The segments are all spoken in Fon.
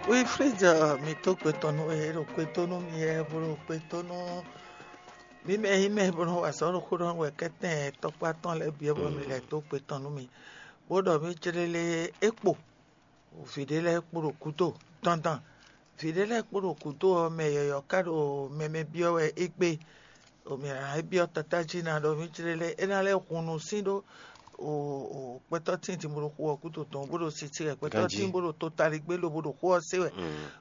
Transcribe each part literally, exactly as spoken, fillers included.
Wilfrid, mi tó gbe tɔn nú we, ɖo gbe tó nú mi wɛ, bó ɖo gbe tó nú mǐ mɛ e nyí mɛ e nɔ wa azɔ̌ ɖo xó ɖɔ nú wɛ kɛ́tɛ́n tɔkpá tɔn lɛ́ɛ bǐ wɛ bɔ mi lɛ́ dó gbe tɔn nú mì, bó ɖɔ mǐ céɖélé é kpo vǐ ɖé lɛ́ɛ kpo ɖo gǔdo dandan. Vǐ ɖé lɛ́ɛ kpo ɖo gǔdo ɔ́, mɛ yɔ̌yɔ́ ka ɖo mɛmɛ byɔ́ wɛ égbé. Mǐ ná byɔ́ tatá jí ná ɖɔ mǐ céɖélé é ná lɛ́ hun nusín ɖó gbɛtɔ́ tíin din bó ɖo xu ɔ́ gúdo tɔn, bó ɖo sisi wɛ gbɛtɔ́ tíin bó ɖo totaligbé lobo ɖo xó ɔ́ se wɛ.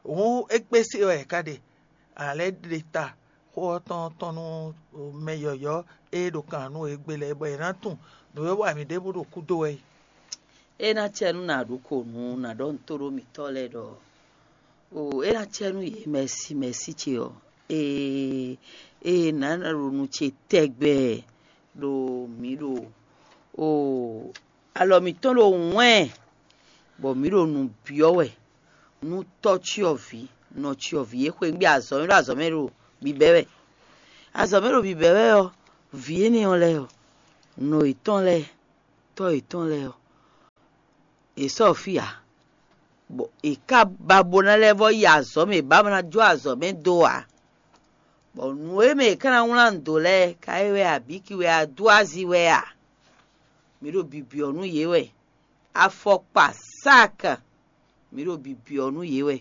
Hǔn égbé se wɛ è ka ɖe. A lɛ́ ɖe ta xó ɔ́ tɔn tɔn nú mɛ yɔ̌yɔ́ e ɖo kan nú égbé lɛ́ɛ, bɔ è nǎ tunwun nǔ e wa mǐ ɖěbǔ ɖo kúdo wɛ é. É ná cɛ nú nǎ ɖu kǒ nú nǎ ɖɔ nǔ tó ɖó mǐtɔn lɛ́ɛ ɖɔ o, é ná cɛ nú yě mɛ̌si mɛ̌si ce ɔ́, ee ee nǎ ɖo nu ce tɛgbɛ ɖo mǐ ɖo o alɔ mǐtɔn ɖo wɛ́n, bɔ mǐ ɖo nǔ byɔ́ wɛ nú tɔ́ cyɔvǐ, nɔ cyɔvǐ e xweyǐgbe azɔ̌ mɛ ɖo azɔ̌ mɛ ɖo bǐbɛ́ wɛ. Azɔ̌ mɛ ɖo bǐbɛ́ wɛ ɔ́, vǐ énɛ́ ɔ́ lɛ́ɛ ɔ́, nɔ yětɔn lɛ́ɛ, tɔ́ yětɔn lɛ́ɛ ɔ́, yě sɔ́ fí ǎ, bɔ è ká ba bo ná lɛ́ vɔ́ yi azɔ̌ mɛ, è bá ná jó azɔ̌ mɛ dó ǎ. Bɔ nǔ e mɛ è ká ná wlán nǔ dó lɛ́ɛ, ka é wɛ a, bǐ ki wɛ a, dó azi wɛ a? Mǐ ɖo bibyɔ̌ nú yě wɛ. Afɔkpa, sac, mǐ ɖo bibyɔ̌ nú yě wɛ,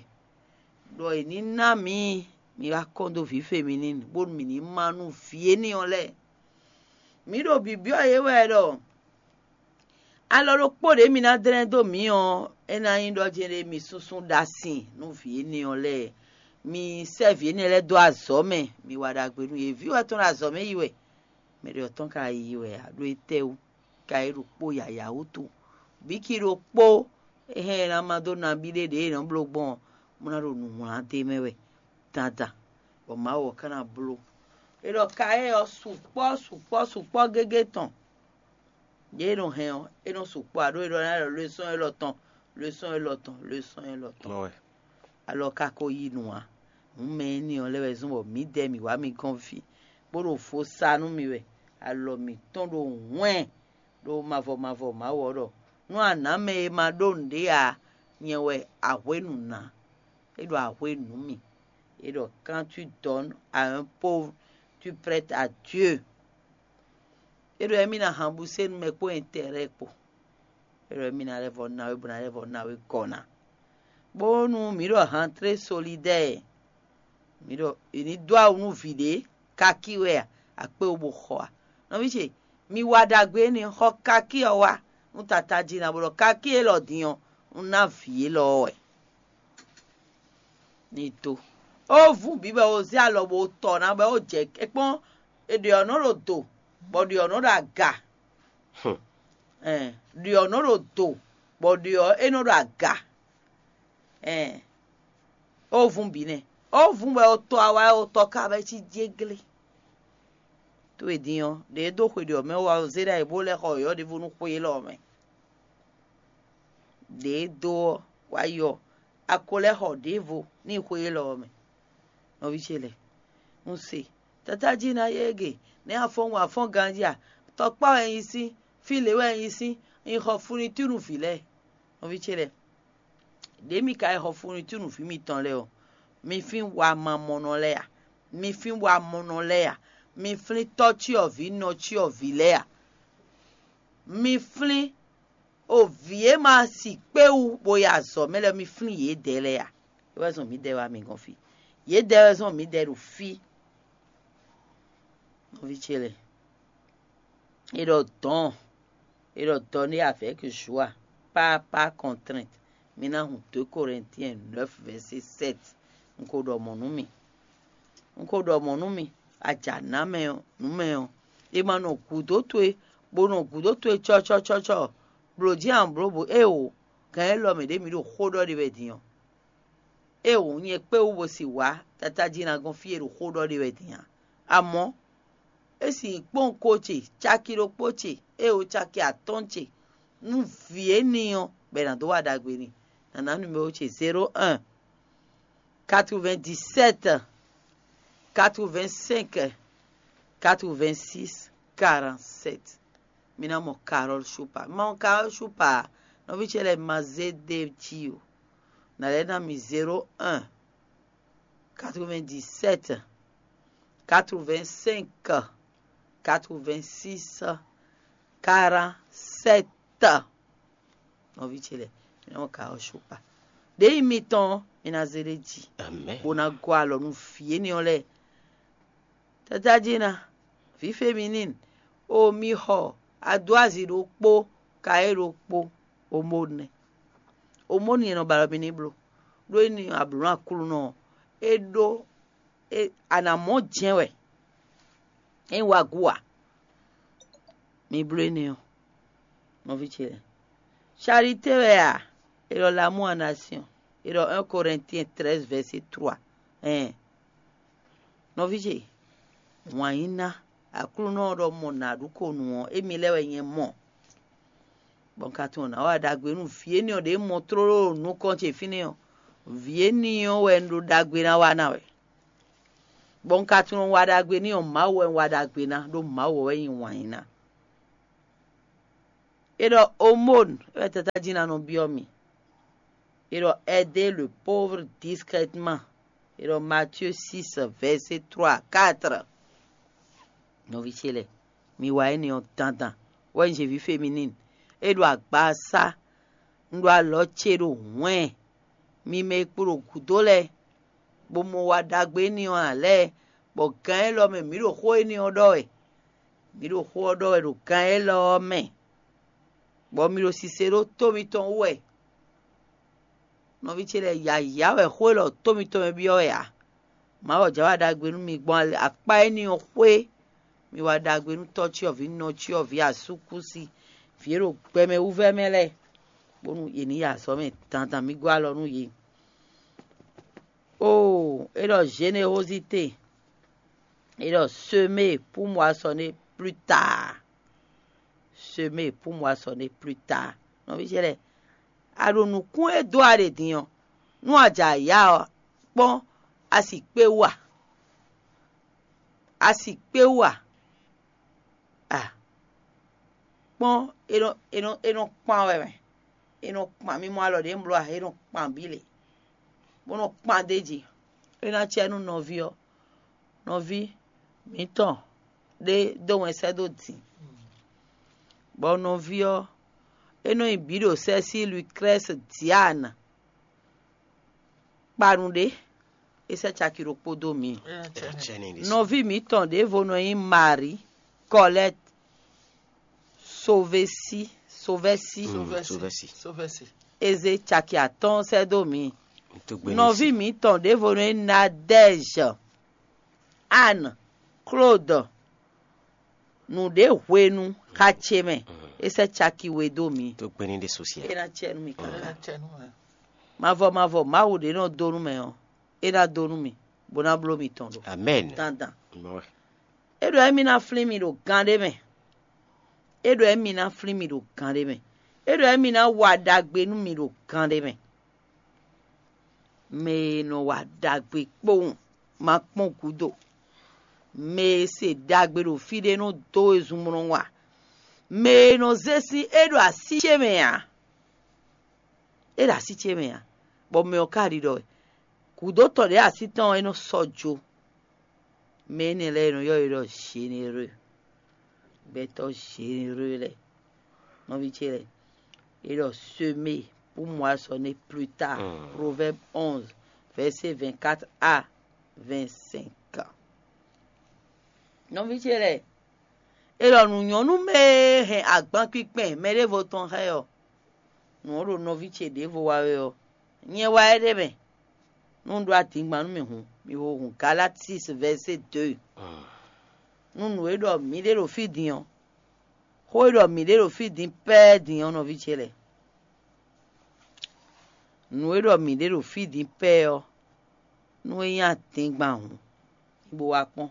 ɖɔ è ní ná mǐ, mi wá kɔn dó vǐ feminin, bónú mǐ ní má nú vǐ énɛ́ ɔ́ lɛ́ɛ. Mǐ ɖo bibyɔ́ yě wɛ ɖɔ alɔ ɖokpó ɖě mi ná dlɛ́n dó mǐ ɔ́, é ná nyí ɖɔ jɛ́n ɖé mi súnsún ɖó asin nú vǐ énɛ́ ɔ́ lɛ́ɛ. Mi sɛ́ vǐ énɛ́ lɛ́ɛ dó azɔ̌ mɛ, mi wa ɖagbe nú yě. Vǐ wɛ tɔn ɖo azɔ̌ mɛ yi wɛ, mɛ ɖě ɔ́ tɔn ka yi wɛ ǎ, ɖó étɛ́wú? Ka é ɖokpó yǎyá wútu. Bǐki ɖokpó é hɛn ná má dó nabí ɖé ɖě è nɔ bló gbɔn ɔ́, bó ná ɖo nǔ wlán d'é mɛ wɛ dandan, bɔ Mawu ɔ́ ka ná bló. É ɖɔ ka é ɔ́ sukpɔ́ sukpɔ́ sukpɔ́ gégé tɔn. Yě e nɔ hɛn ɔ́, é nɔ sukpɔ́ ǎ, ɖó é ɖɔ ná ɖɔ lwesɔ́n élɔ́ tɔn, lwesɔ́n élɔ́ tɔn, lwesɔ́n élɔ́ tɔn. Alɔ ka ko yi nǔ ǎ. Hǔn mɛ énɛ́ ɔ́ lɛ́ wɛ zɔ́n bɔ mǐdɛɛ mǐ wá mi gɔ́n fí, bó ɖo vo sa nú mi wɛ. Alɔ mǐtɔn ɖo hwɛ́n ɖo mavɔ mavɔ Mawu ɔ́ ɖɔ: Nú a nǎ mɛ e ma ɖó nǔɖé ǎ, nyɛ wɛ a hwě nǔ ná. É ɖɔ a hwě nǔ mì. É ɖɔ: Quand tu donnes à un pauvre, tu prêtes à Dieu. É ɖɔ émí ná han bú sé nú mɛ kpó intɛrɛ́ kpó. É ɖɔ émí ná lɛ́ vɔ ná we, bó ná lɛ́ vɔ ná we gɔ́ ná. Bónú mǐ ɖɔ hantré solidɛ́ɛ, mǐ ɖɔ è ní dó awu nú vǐ ɖé, kakí wɛ a, akpé wú bó xɔ a? Nɔví ce, mi wa ɖagbe énɛ́, xɔ kakí ɔ́ wá nú tata jí ná, bó ɖɔ kakí élɔ́ din ɔ́, un ná vǐ élɔ́ ɔ́ wɛ. Ní dó ó vú bǐ bɔ ó zé alɔ bó tɔ ná bɔ ó jɛ kpɔ́n, è ɖe ɔ́ nɔ ɖo do, bɔ ɖe ɔ́ nɔ ɖo aga. Ɛn, ɖe ɔ́ nɔ ɖo do, bɔ ɖe ɔ́ é nɔ ɖo aga. Ɛn, ó vún bǐ nɛ́. Ó vún bɔ ó tɔ awa, ó tɔ ka bɔ é cí jéglé. Tó e din ɔ́, ɖě e dó xwe ɖě ɔ́ mɛ wá ɔ́, zé ɖ'ayǐ bó lɛ́ xɔ yɔ̌yɔ́ ɖěvo nú xwe élɔ́ ɔ́ mɛ. Ɖě e dó ɔ́ wá yi ɔ́, a ko lɛ́ xɔ ɖěvo n'i xwe élɔ́ ɔ́ mɛ. Nɔví ce lɛ́ɛ, un se, tata jí ná yé gě, nɛ̌ a fɔ́n wun a fɔ́n ganjí a? Tɔkpá wɛ un yi sín, fí lě wɛ un yi sín, un yi xɔ funitúnu vǐ lɛ́ɛ. Nɔví ce lɛ́ɛ, ɖě mi ka yi xɔ funitúnu vǐ mitɔn lɛ́ɛ ɔ́, mi flín wamamɔnɔ lɛ́ɛ a? Mi flín wamɔnɔ lɛ́ɛ a? Mi flín tɔ́cyɔvǐ nɔcyɔvǐ lɛ́ɛ a? Mi flín o vǐ e ma si kpé wú bó yi azɔ̌ mɛ lɛ́ɛ, mi flín yědɛɛ lɛ́ɛ a? É wɛ zɔn mǐdɛɛ wá mi gɔ́n fí. Yědɛɛ wɛ zɔn mǐdɛɛ ɖo fí. Nɔví ce lɛ́ɛ, é ɖɔ dɔ̌n, é ɖɔ dɔ̌n ɖé avec joie, pas par contrainte. Mi ná hun deux Corinthiens neuf verset sept. Un ko ɖɔ mɔ̌ nú mi. Un ko ɖɔ mɔ̌ nú mi. Aja nǎ mɛ ɔ́, nǔ mɛ ɔ́, è ma nɔ gǔdo towe, bó nɔ gǔdo towe cɔ́cɔ́cɔ́cɔ́, blǒ jí an blǒ bǔ éeǒ. Gǎn élɔ́ mɛ ɖě mi ɖo xó ɖɔ ɖe wɛ din ɔ́. Éeǒ, nyɛ kpé wú bó si wǎ tata jí ná gɔ́n fí e ɖo xó ɖɔ ɖe wɛ din ǎ. Amɔ̌, é si nyí kpɔ́n ko ce, caki ɖokpó ce, éeǒ caki atɔ́ɔ́n ce, nú vǐ énɛ́ ɔ́, bɔ è nǎ dó wa ɖagbe n'i. Nǎ ná numéro ce: zéro un, quatre-vingt-dix-sept, quatre-vingt-cinq, quatre-vingt-six, quarante-sept. Mi ná mɔ Carole Choupa. Mi ma mɔ Carole Choupa, nɔví ce lɛ́ɛ ma zé ɖ'é jí o. Nǎ lɛ́ ná mi zéro un, quatre-vingt-dix-sept, quatre-vingt-cinq, quatre-vingt-six, quarante-sept. Nɔví ce lɛ́ɛ, mi nɔ ka ɔ́ sukpa. Ɖěyi mitɔn ɔ́, mi ná zé ɖ'é jí, bó ná gɔ́ alɔ nú vǐ énɛ́ ɔ́ lɛ́ɛ. Tata jí ná, vǐ féminín, o mi xɔ adwázi ɖokpó, kayé ɖokpó, omónu nɛ́. Omónu e nɔ ba alɔ mi ní bló, ɖó é ní ablǔ nú Aklúnɔ ɔ́, é ɖó, a nǎ mɔ jɛ́n wɛ, é nyí wagú ǎ. Mi bló énɛ́ ɔ́, nɔví ce lɛ́ɛ. Charité wɛ a? È ɖɔ l'amour en action. È ɖɔ un Corinthiens treize verset trois. Ɛn, nɔví ce, wǎn yí ná. Aklúnɔ ɔ́ ɖɔ mɔ nǎ ɖu ko nǔ ɔ́, émi lɛ́ɛ wɛ nyɛ mɔ. Bɔ un ka tunwun nǎ wa ɖagbe nú vǐ énɛ́ ɔ́ ɖě mɔ tlóló ɖo nukɔn ce fínɛ́ ɔ́, vǐ énɛ́ ɔ́ wɛ un ɖo ɖagbe ná wa ná wɛ. Bɔ un ka tunwun wa ɖagbe n'i ɔ́, Mawu wɛ un wa ɖagbe ná, ɖó Mawu wɛ nyí wǎn yí ná. È ɖɔ omónu wɛ tata jí ná nɔ byɔ́ mì. È ɖɔ aider le pauvre discrètement. È ɖɔ Matthieu six, verset trois à quatre. Nɔví ce lɛ́ɛ, mi wa énɛ́ ɔ́ dandan. Wɛ un zě vǐ féminín. É ɖo agbaza. Un ɖo alɔ ce ɖo hwɛ̌n. Mi mɛ e kpo ɖo gǔdo lɛ́ɛ, bó mɔ wa ɖagbe énɛ́ ɔ́ ǎ lɛ́ɛ, bɔ gǎn élɔ́ mɛ mǐ ɖo xó énɛ́ ɔ́ ɖɔ wɛ. Mǐ ɖo xó ɔ́ ɖɔ wɛ ɖo gǎn élɔ́ ɔ́ mɛ, bɔ mi ɖo sise ɖó tó mitɔn wú wɛ. Nɔví ce lɛ́ɛ, yǎyá wɛ xó élɔ́ tó mitɔn mɛ byɔ́ wɛ ǎ. Mawu ɔ́ jǎ wa ɖagbe nú mi gbɔn akpá énɛ́ ɔ́ xwé. Mi wa ɖagbe nú tɔ́cyɔvǐ, nɔcyɔvǐ, asúkúsi, vǐ e ɖo gbɛmɛ wú vɛ́ mɛ lɛ́ɛ, bónú yě ní yi azɔ̌ mɛ dandan. Mi gɔ́ alɔ nú yě. Oo, é ɖɔ générosité, é ɖɔ semer pour moissonner plus tard. Semer pour moissonner plus tard. Nɔví ce lɛ́ɛ, a ɖo nǔkún e dó a ɖe din ɔ́, nú a jɛ ayǎ ɔ́, kpɔ́n a si kpé wú a? A si kpé wú a? A kpɔ́n, é nɔ é nɔ é nɔ kpan wɛ mɛ. É nɔ kpan, mi mɔ alɔ ɖě un bló a? É nɔ kpan bǐ lě, bó nɔ kpan d'é jí. É ná cɛ nú nɔví ɔ́, nɔví mǐtɔn ɖé dó wɛn sɛ́ dó din, bɔ nɔví ɔ́, é nɔ nyi bǐ ɖo sɛ́ sí Lucrèce Diane. Kpanu ɖé, é sɛ́ caki ɖokpó dó mǐ. Nɔví mǐtɔn ɖěvo nɔ nyí Marie Colette Sovesi Sovesi. Sovesi. É zé caki atɔ́ɔ́n sɛ́ dó mǐ. Nɔví mǐtɔn ɖěvo nɔ nyí Nadège Anne Claude. Nǔɖé hwenu xa ce mɛ, é sɛ́ caki we dó mǐ. Tó gbé ní ɖé sosiɛ. É ná cɛ nú mi káká. Mavɔ mavɔ Mawu ɖě nɔ dó nú mɛ ɔ́, é ná dó nú mi, bó ná bló mi tɔn ɖo. Amɛn. Dandan. É ɖɔ émí ná flín mi ɖo gan ɖé mɛ. É ɖɔ émí ná flín mi ɖo gan ɖé mɛ. É ɖɔ émí ná wa ɖagbe nú mi ɖo gan ɖé mɛ. Mɛ e nɔ wa ɖagbe kpowun ma kpɔ́n gǔdo. Mɛ e se ɖagbe ɖo fí ɖé nɔ dó wezun bó nɔ wa. Mɛ e nɔ zé sín é ɖo así ce mɛ ǎ. É ɖo así ce mɛ ǎ, bɔ mɛ ɔ́ ka ɖiɖɔ wɛ. Gǔdo tɔn ɖě así tɔn ɔ́, é nɔ sɔ́ jó. Mɛ énɛ́ lɛ́ɛ è nɔ ylɔ́ yě ɖɔ généreux. Gbɛtɔ́ généreux lɛ́ɛ, nɔví ce lɛ́ɛ, é ɖɔ semer pour moissonner plus tard. Proverbe onze, verset vingt-quatre à vingt-cinq. Nɔví ce lɛ́ɛ, é ɖɔ nǔ nyɔ́ nú mɛ e hɛn agban kpinkpɛn mɛɖěvo tɔn xá ɛ ɔ́, nǔ ɔ́ ɖo nɔví ce ɖěvo wa wɛ ɔ́, nyɛ wá ɛ ɖ'é mɛ. Nú un ɖó adingban nú mì hǔn, mì ho hun Galati six verset deux. Nú nǔ e ɖɔ mǐ ɖe ɖo fí din ɔ́, xó e ɖɔ mǐ ɖe ɖo fí din pɛ́ɛ́ din ɔ́, nɔví ce lɛ́ɛ, nǔ e ɖɔ mǐ ɖe ɖo fí din pɛ́ɛ́ ɔ́, nú é nyí adingban hǔn, mi bo wá kpɔ́n.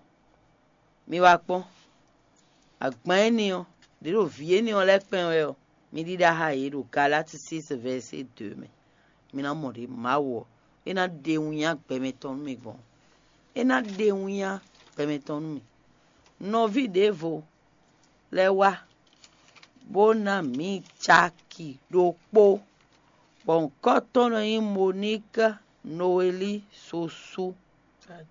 Mi wá kpɔ́n, agban énɛ́ ɔ́, ɖě ɖo vǐ énɛ́ ɔ́ lɛ́ɛ kpɛn wɛ ɔ́, mi ɖíɖá xá yě ɖo Galati six verset deux mɛ. Mi ná mɔ ɖě Mawu ɔ́, é ná ɖe winnyá gbɛmɛ tɔn nú mi gbɔn. É ná ɖe winnyá gbɛmɛ tɔn nú mi. Nɔví ɖěvo lɛ́ɛ wá, bó ná mǐ caki ɖokpó, Bɔ ŋkɔ́tɔ́ nɔ nyí Moníka Nowelí Susú.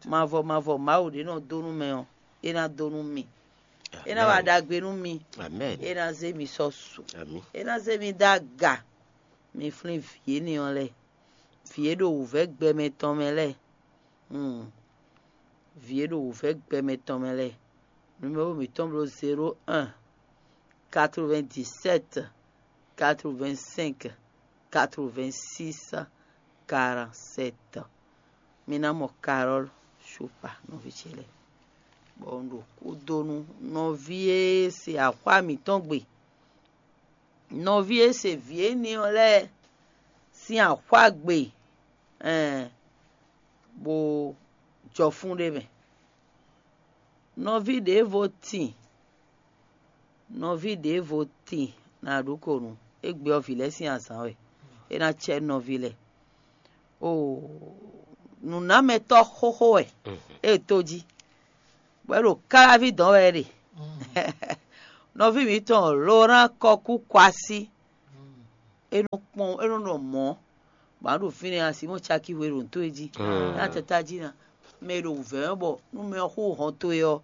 Mavɔ mavɔ Mawu ɖé nɔ dó nú mɛ ɔ́, é ná dó nú mì. É ná wa ɖagbe nú mi. É ná zé mi sɔ́ su. É ná zé mi dó aga. Mi flín vǐ énɛ́ ɔ́ lɛ́ɛ, vǐ e ɖo wǔvɛ́ gbɛmɛ tɔn mɛ lɛ́ɛ. Vǐ e ɖo wǔvɛ́ gbɛmɛ tɔn mɛ lɛ́ɛ. Numéro mǐtɔn bló zéro un, quatre-vingt-dix-sept, quatre-vingt-cinq, quatre-vingt-six, quarante-sept. Mi ná mɔ Carole Choupa nɔví ce lɛ́ɛ, bɔ un ɖo kúdonu nɔví e se axwá mǐtɔn gbe. Nɔví e se vǐ énɛ́ ɔ́ lɛ́ɛ sín axwá gbe, ɛn, bó jɔ fún ɖé mɛ. Nɔví ɖěvo tin, nɔví ɖěvo tin ná ɖu ko nú égbé ɔ́ vǐ lɛ́ɛ sín azǎn wɛ, é ná cɛ nɔví lɛ́ɛ. Oo, nǔnámɛtɔ́ xóxó wɛ é to jí, bɔ é ɖo káláví dɔn wɛ é ɖe. Nɔví mǐtɔn Lorán Kɔkú Kwasí, é nɔ kpɔn é nɔ nɔ mɔ̌, bɔ a ɖo fínɛ́ a Simɔ́ɔ caki hwe ɖo nǔ towe jí. Ná tata jí ná, mɛ e ɖo wǔvɛ́ ɔ́ bɔ nú mɛ ɔ́ xú hɔn towe ɔ́,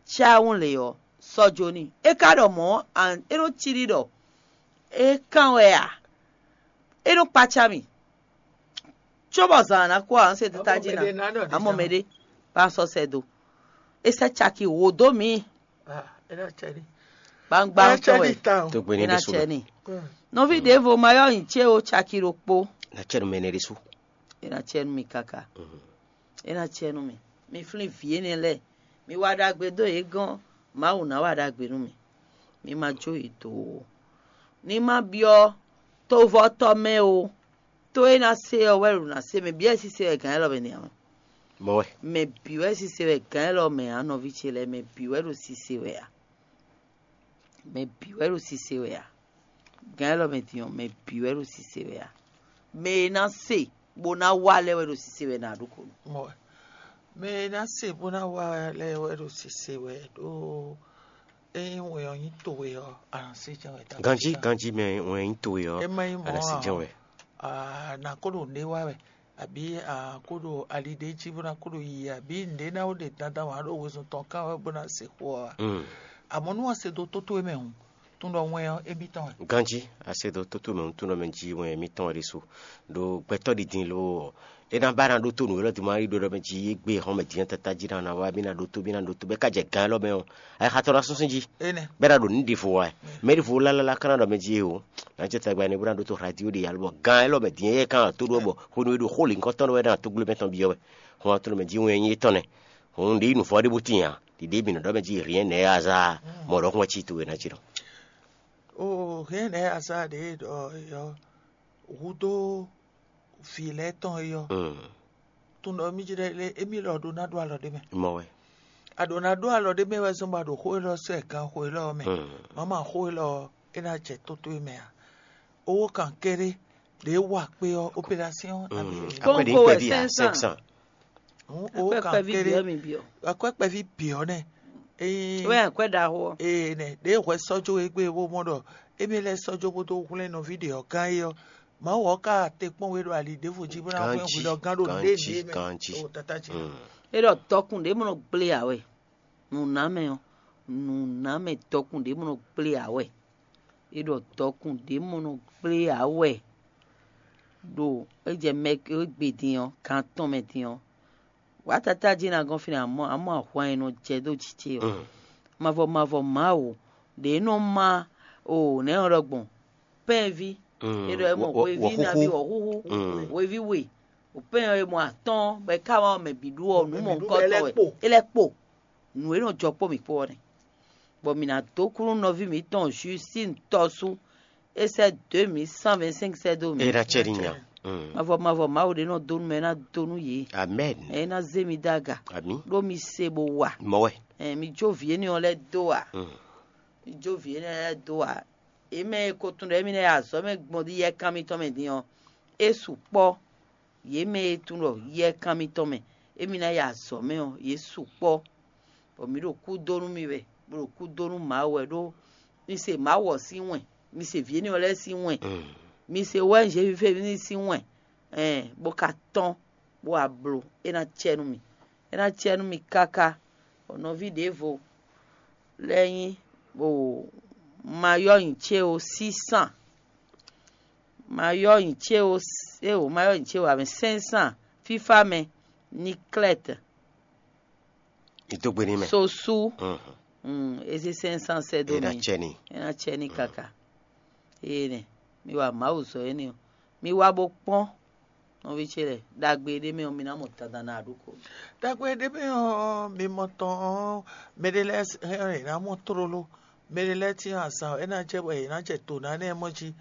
cáwún lě ɔ́, sɔ́ jó n'i. É ka ɖɔ mɔ̌ ɔ́, é nɔ cí ɖi ɖɔ é kán wɛ a? É nɔ kpácá mì. Cóbɔ zǎn ná kú ǎ, un se tata jí ná. Amɔ mɛɖé bá sɔ́ sɛ do. É sɛ́ caki wǒ dó mǐ. Gbangba tɔn wɛ. É ná cɛ ní. Nɔví ɖěvo ma yɔ nyi cé o caki ɖokpó. Ná cɛ nú mɛ énɛ́ ɖésú. É ná cɛ nú mi káká. É ná cɛ nú mi. Mi flín vǐ énɛ́ lɛ́ɛ. Mi wa ɖagbe dó yě gɔ́n. Mawu ná wa ɖagbe nú mi. Mi ma jó yě dó ó. Ní ma byɔ́ tovɔ́tɔ́ mɛ ó. Tó e ná se ɔ́ wɛ ɖo ná se mɛ bǐ wɛ sise wɛ gǎn élɔ́ mɛ nɛ́ ǎ. Mɔ̌ wɛ. Mɛ bǐ wɛ sise wɛ gǎn élɔ́ mɛ ǎ, nɔví ce lɛ́ɛ, mɛ bǐ wɛ ɖo sise wɛ ǎ. Mɛ bǐ wɛ ɖo sise wɛ ǎ. Gǎn élɔ́ mɛ din ɔ́, mɛ bǐ wɛ ɖo sise wɛ ǎ. Mɛ e ná se bó ná wa lɛ́ɛ wɛ ɖo sise wɛ ná ɖó ko nú. Mɔ̌ wɛ. Mɛ e ná se bó ná wa lɛ́ɛ wɛ ɖo sise wɛ ɖó ényí wɛn ɔ́ nyí towe ɔ́, a nǎ se jɛ́n wɛ. Ganjí, ganjí mɛ wɛn nyí towe ɔ́, é má nyí mɔ̌ a nǎ se jɛ́n wɛ. A nǎ ko ɖo nǔɖé wa wɛ, abǐ a ko ɖo ali ɖé jí bó ná ko ɖo yiyi, abǐ nǔɖé ná ko ɖe dandan wǎn ɖo wezun tɔn kan wɛ bó ná se xó ɔ́ a? Amɔ̌ nú a se dó tó towe mɛ hǔn, tún ɖɔ wɛn ɔ́ émítɔn wɛ. Ganjí, a se dó tó towe mɛ hǔn, tún ɖɔ mɛ jí wɛn émítɔn wɛ ɖésú. Ɖo gbɛtɔ́ ɖi din lo ɔ́, é ná ba ná ɖótó nǔ élɔ́ din ma yi ɖó ɖɔ mɛ jí égbé hɔn mɛ din tata jí ná ná wá bí ná ɖótó bí ná ɖótó bɛ ká jɛ gán élɔ́ mɛ ɔ́, ayixatɔ́ ná súnsún jí. Bɛ ná ɖo nǔ ɖěvo wá. Mɛ ɖěvo lálá ká ná ɖɔ mɛ jí o, ná jɛ tagba ne bó ná ɖótó radio ɖe alo bɔ gán élɔ́ mɛ din éyɛ́ ká ná tó ɖó bɔ hwenu e ɖo xó lǐnkɔtɔn wɛ ná tó gblé mɛ tɔn byɔ́ wɛ. Hɔn atɔ́ mɛ jí wɛn nyí tɔn nɛ. Hɔn ɖě yi nǔvɔ ɖé bó tín ǎ. Ɖiɖe mǐ nɔ ɖɔ mɛ jí rien n'est hasard. Mɔ ɖɔhun wɛ cí towe ná jí nɔ. O rien n'est hasard ɖě ɖɔ yɔ hudó vǐ lɛ́ɛ tɔn é yɔ. Tun ɖɔ mí jí ɖɔ lé émí lɔ ɖó ná ɖó alɔ ɖé mɛ. Mɔ wɛ. A ɖǒ ná ɖó alɔ ɖé mɛ wɛ zɔ́n bɔ a ɖo xó élɔ́ sɔ́ ɛ ganxo élɔ́ ɔ́ mɛ. Mama xó élɔ́ ɔ́, é ná jɛ tótó e mɛ ǎ. Owó kan kéré ɖě wa kpé ɔ́, opération abǐ. Akwɛ́ ɖě kpɛví ǎ, cinq cents. Owó kan kéré. Akwɛ́ kpɛví bǐ ɔ́ nɛ. Wɛ akwɛ́ ɖaxó ɔ́. Ee nɛ ɖě hwɛ sɔ́ jó e gbé bó mɔ ɖɔ émí lɛ́ɛ sɔ́ jó bó dó hwlɛ́n nɔví ɖě ɔ́ gán é ɔ́, Mawu ɔ́ ka te kpɔ́n we ɖo ali ɖěvo jí bó ná hwlɛ́n hwi ɖɔ gán ɖo nǔɖé ɖě mɛ. Ɖo tata ce. É ɖɔ dɔkun ɖě mɔ nɔ gblé ǎ wɛ. Nǔnámɛ ɔ́, nǔnámɛ dɔkun ɖě mɔ nɔ gblé ǎ wɛ. É ɖɔ dɔkun ɖě mɔ nɔ gblé ǎ wɛ. Ɖo é jɛ mɛ e gbe din ɔ́, gan tɔn mɛ din ɔ́, wǎ tata jí ná gɔ́n fínɛ́ amɔ̌ amɔ̌ ahwan e nɔ jɛ dó jǐ ce ɔ́. Mavɔ mavɔ Mawu ɖě nɔ má o nɛ̌ ɔ́ ɖɔ gbɔn pɛ́nví. É ɖɔ é mɔ hweví nabí wɔ̌xúxú, hweví we, o pɛ́n ɔ́ é mɔ atɔ́ɔ́n bɔ é ká wá mɛ bǐ ɖu ɔ́ nǔ mɔ̌hunkɔtɔn wɛ. É lɛ́ kpo. Nǔ e nɔ jɔ kpó mǐ kpó ɔ́ nɛ́. Bɔ mǐ ná dó kú nú nɔví mǐtɔn Justin tɔ́sú. É sɛ́ deux mille cent vingt-cinq sɛ́ dó mǐ. É ná cɛ ní nya. Mavɔ mavɔ Mawu ɖé nɔ dó nú mɛ é ná dó nú yě. Amen. É ná zé mi dó aga. Ami. Ɖó mi se bó wa. Mɔ wɛ. Ɛ, mi jó vǐ énɛ́ ɔ́ lɛ́ɛ dó a? Mi jó vǐ énɛ́ lɛ́ɛ dó a? Yě mɛ e ko tunwun ɖɔ émí ná yi azɔ̌ mɛ gbɔn ɖi yɛkan mitɔn mɛ din ɔ́, é sukpɔ́. Yě mɛ e tunwun ɖɔ yɛkan mitɔn mɛ émí ná yi azɔ̌ mɛ ɔ́, yě sukpɔ́. Bɔ mǐ ɖo kú dó nú mi wɛ, bó ɖo kú dó nú Mawu wɛ ɖó mi se Mawu ɔ́ sín wɛn, mi se vǐ énɛ́ ɔ́ lɛ́ɛ sín wɛn. Mi se wɛ Zefífévní sín wɛn, ɛn, bó ka tɔ́n, bó wá bló. É ná cɛ nú mi. É ná cɛ nú mi káká. Bɔ nɔví ɖěvo lɛ́ɛ nyí, o, mayɔ́ nyi cé o sísan, mayɔ́ nyi cé o, eo, mayɔ́ nyi cé o amɛ sɛ́nsán, fífá mɛ, Niklɛ́t, Ní dó gbe n'i mɛ. Sosú. Mhm. Mm, ezi sɛ́nsán sɛ́ dó É ná mi. cɛ n'i. É ná cɛ n'i káká. Eye nɛ, mi wa Mawu zɔ énɛ́ ɔ́. Mi wá bó kpɔ́n nɔví ce lɛ́ɛ. Ɖagbe ɖé mɛ ɔ́, mi ná mɔ dandan ná ɖó ko. Ɖagbe ɖé mɛ ɔ́, mi mɔ tɔn ɔ́, mɛ ɖé lɛ́ɛ hɛn ɔ́, yě ná mɔ tlóló. Mɛ ɖé lɛ́ɛ cyɔ́n azǎn ɔ́, é ná jɛ bɔ yě ná jɛ dǒ ná énɛ́ mɔ jí.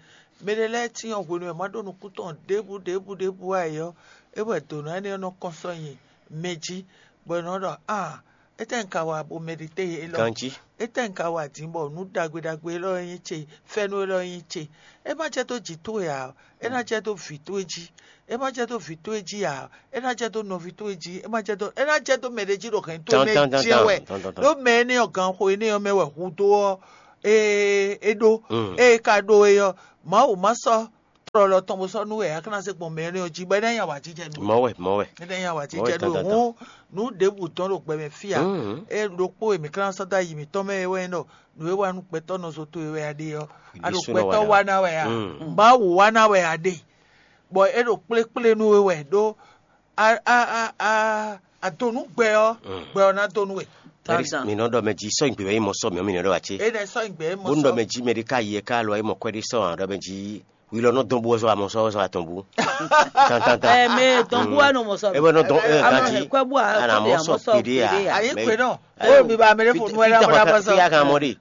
Mɛ ɖé lɛ́ɛ cyɔ́n hwenu e ma ɖó nukún tɔn ɖěbǔ ɖěbǔ ɖěbǔ ǎ é ɔ́, é wɛ dǒ ná énɛ́ ɔ́ nɔ kɔn sɔ́ nyi mɛ jí, bɔ è nɔ ɖɔ: "Aa, étɛ́ un ka wa bo mɛɖitɛ́ élɔ́? Ganjí. Étɛ́ un ka wa din bɔ nǔ ɖagbe ɖagbe élɔ́ e nyí ce, fɛ́nú élɔ́ e nyí ce? É má jɛ dó jǐ towe ǎ, é ná jɛ dó vǐ towe jí. É má jɛ dó vǐ towe jí ǎ, é ná jɛ dó nɔví towe jí. É má jɛ dó, é ná jɛ dó mɛ ɖé jí ɖo hɛ̌n towe mɛ jɛ́n wɛ. Ɖó mɛ énɛ́ ɔ́, ganxo énɛ́ ɔ́ mɛ wɛ hudó ɔ́, é é ɖó. Ée é ka ɖó é ɔ́, Mawu má sɔ́ tlɔlɔ tɔn bó sɔ́ nú wɛ ǎ, é ká ná zé gbɔn mɛ énɛ́ ɔ́ jí, bɔ é ná nyi awǎjijɛ nú we. Mɔ̌ wɛ, mɔ̌ wɛ. É ná nyi awǎjijɛ nú we. Hǔn nǔ ɖěbǔ dɔn ɖo gbɛ mɛ fí ǎ. É ɖokpó e mǐ ká ná sɔ́ dó ayi mǐtɔn mɛ é wɛ nyí ɖɔ nǔ e wa nú gbɛtɔ́ nɔ zo towe wɛ a ɖe ɔ́, a ɖo gbɛtɔ́ wa ná wɛ ǎ. Mawu wa ná wɛ a ɖe, bɔ é ɖo kplékplé nú we wɛ ɖó a a a a a do nú gbɛ ɔ́, gbɛ ɔ́ ná do nú we. Dandan. Mi nɔ ɖɔ mɛ jí sɔ́ nyigbe wɛ yi mɔ sɔ mɛ mi nɔ ɖɔ wá ce. É nɛ sɔ́ nyigbe é mɔ Bó nɔ sɔ. Mɛ jí mɛ ɖé ká yi ɛ ká lɔ é mɔ kwɛ ɖé sɔ ǎ ɖɔ mɛ jí wi lɔ nɔ dɔn bú ɔzɔ amɔ sɔ ɔzɔ atɔn bú. Tantan. Ɛ mɛ dɔn bú wa nɔ mɔ sɔ. Ebe nɔ dɔn ɛ Amɔ ganti. Hɛ kwɛ bú a Ana mɔ sɔ sɔ pede a. Ayi Mɛ- kpe nɔ. Ayi, Ó mi ba mɛ ɖé fo nú ɛ la mɔ ɖa bɔ sɔ. Fi a kan mɔ de.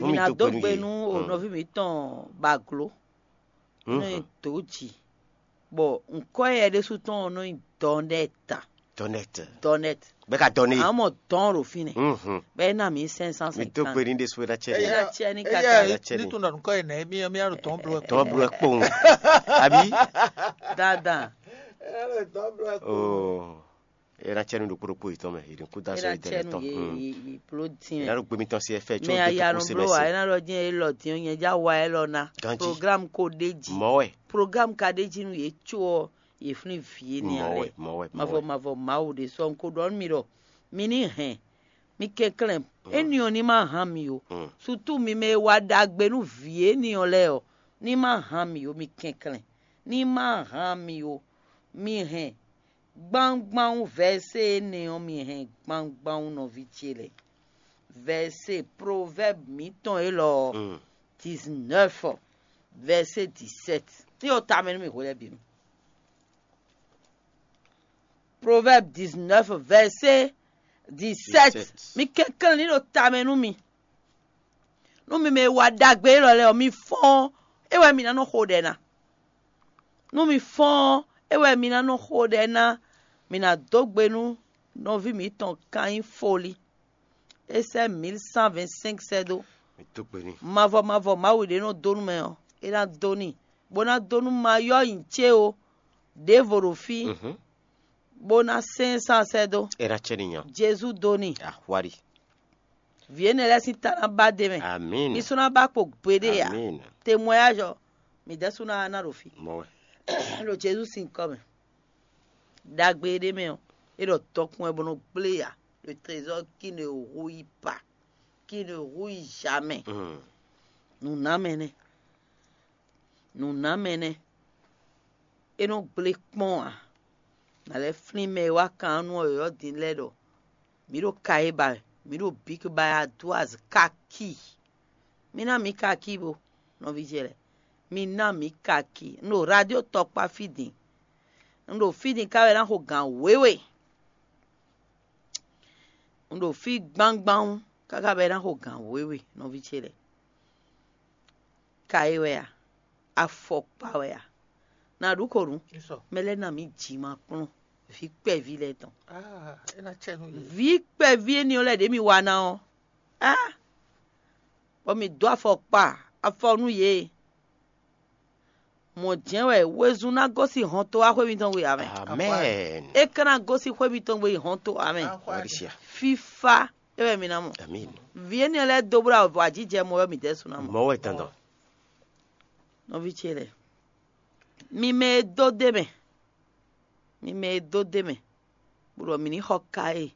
Mi na dó gbe nú o nɔví mi tɔn baglo nɔ nyi dó jì, bɔ nkɔ yɛ ɖésú tɔn nɔ nyi dɔnɛta. Dɔnɛt. Dɔnɛt. Bɛ ka dɔn ne. Amɔ dɔn ɖo fínɛ. Mhm. Bɛ na mi sɛn san Mi dó sɛnkan. gbe ní ɖésú ɛ na cɛ Ɛ ni. na cɛ ní Eya kaka. Ɛ, cɛ ni. Ní tún nɔ nukɔ yìí nɛ mi mi aɖo tɔn blɔ. Tɔn blɔ kpɔn. Abi. Dandan. Oh. Ɛ na cɛ ni ɖokpo ɖokpo yi tɔn mɛ. Yi ɖin kú da Ɛ sɔ na yi cɛ dɛrɛ nu tɔn. ye Mm. ye ye plo Ɛ diɛ. na ɖo gbemi tɔn si ɛ fɛ tso Mɛ de aya tɔn nɔ ko se blo mɛ wa se. ɛ na ɖɔ diɛ e lɔ diɛ nyɛ ja wa ɛ lɔ na. Ganji. Programme ko ɖe ji. Mɔwɛ. Programme ka ɖe ji nu ye tso ɔ ye flin vie ni Mɔwɛ. alɛ. Mɔwɛ. Mavɔ mavɔ Mawu ɖe sɔ nko ɖɔ mi ɖɔ mi ni hɛn mi kɛnklɛn eni ɔ ni ma hàn mi o. Mm. Surtout mi mɛ wa ɖagbe nú vie ni ɔ lɛ ɔ ni ma hàn mi o mi kɛnklɛn ni ma hàn mi o mi hɛn gbangban verset ene ɔ mi hɛn gbangban nɔvi ce lɛ. Verset Proverbe mitɔn élɔ ɔ Mm. dix-neuf verset dix-sept. Ni o tamɛ nú mi hwelɛ binu. Proverbe dix-neuf verset dix-sept. Dix-sept. Mi kɛnklɛn ni ɖo tamɛ nú mi. Nú mi mɛ wa ɖagbe élɔ lɛ ɔ mi fɔ́n é wɛ mi ná nɔ xo ɖɛ ná. Nú mi fɔ́n é wɛ mi ná nɔ xo ɖɛ ná. Mi ná dó gbe nú nɔví mitɔn kan nyí foli. É sɛ́ mil cent vingt-cinq sɛ́ dó. Mi dó gbe ní. Mavɔ mavɔ Mawu ɖé nɔ dó nú mɛ ɔ́, é ná dó n'i, bó ná dó nú mayɔ́ nyi cé o, ɖěvo ɖo fí, Mhm. bó ná sɛ́n sán sɛ́ dó. Ɛ na cɛ ni nya. Jezu dó n'i. Ahwari. Vǐ énɛ́ lɛ́ɛ sín ta ná ba d'é mɛ. Amin. Mi sú ná ba kpo gbeɖé ǎ. Amin. Témoignage ɔ́, mi ɖɛ́ sú ná ná ɖo fí. Mɔwɛ. Ɖo Jezu sín kɔ mɛ. Ɖagbe ɖé mɛ ɔ́, é ɖɔ dɔkun wɛ bó nɔ gblé ya. Le trésor qui ne rouille pas, qui ne rouille jamais. Mm. Nǔnámɛ nɛ́. Nǔnámɛ nɛ́. É nɔ gblé kpɔ́n ǎ. Nǎ lɛ́ flín mɛ e wá kan nú ɔ́ yɔ̌yɔ́ din lɛ́ɛ ɖɔ mǐ ɖo ka e ba wɛ, mǐ ɖo bǐk ba wɛ aduaz kaki. Mi ná mǐ kaki bo, nɔví ce lɛ́ɛ. Mi ná mǐ kaki. Un ɖo radio tɔkpa fí din. Un ɖo fí din ká wɛ ná xo gǎn wěwe. Un ɖo fí gbangban káká bɔ é ná xo gǎn wěwe, nɔví ce lɛ́ɛ. Ka é wɛ a? Afɔkpa wɛ a? Na ɖu ko nu. Mɛ lɛ́ɛ ná mǐ jǐ ma kplɔ́n vǐ kpɛví lɛ́ɛ tɔn. É ná cɛ nú yě. Vǐ kpɛví éní ɔ́ lɛ́ɛ ɖě mi wa ná ɔ́, á, bɔ mi dó afɔkpa afɔ nú yě. Mɔ̌ jɛ́n wɛ wezun ná gosín hɔnto wá xwé mitɔn gbe ǎ mɛ. Amen. É ka ná gosín xwé mitɔn gbe yi hɔnto ǎ mɛ. Wari sia. Fífá é wɛ mi ná mɔ. Amin. Vǐ éní lɛ́ɛ dó bó ɖo avɔ ajijɛ mɔ wɛ mi dɛ́ sú ná mɔ. Mɔwɛ dandan. Nɔví ce lɛ́ɛ, Mi mɛ e dó d'é mɛ, mi mɛ e dó d'é mɛ, bó ɖɔ mǐ ní xɔ Kaye,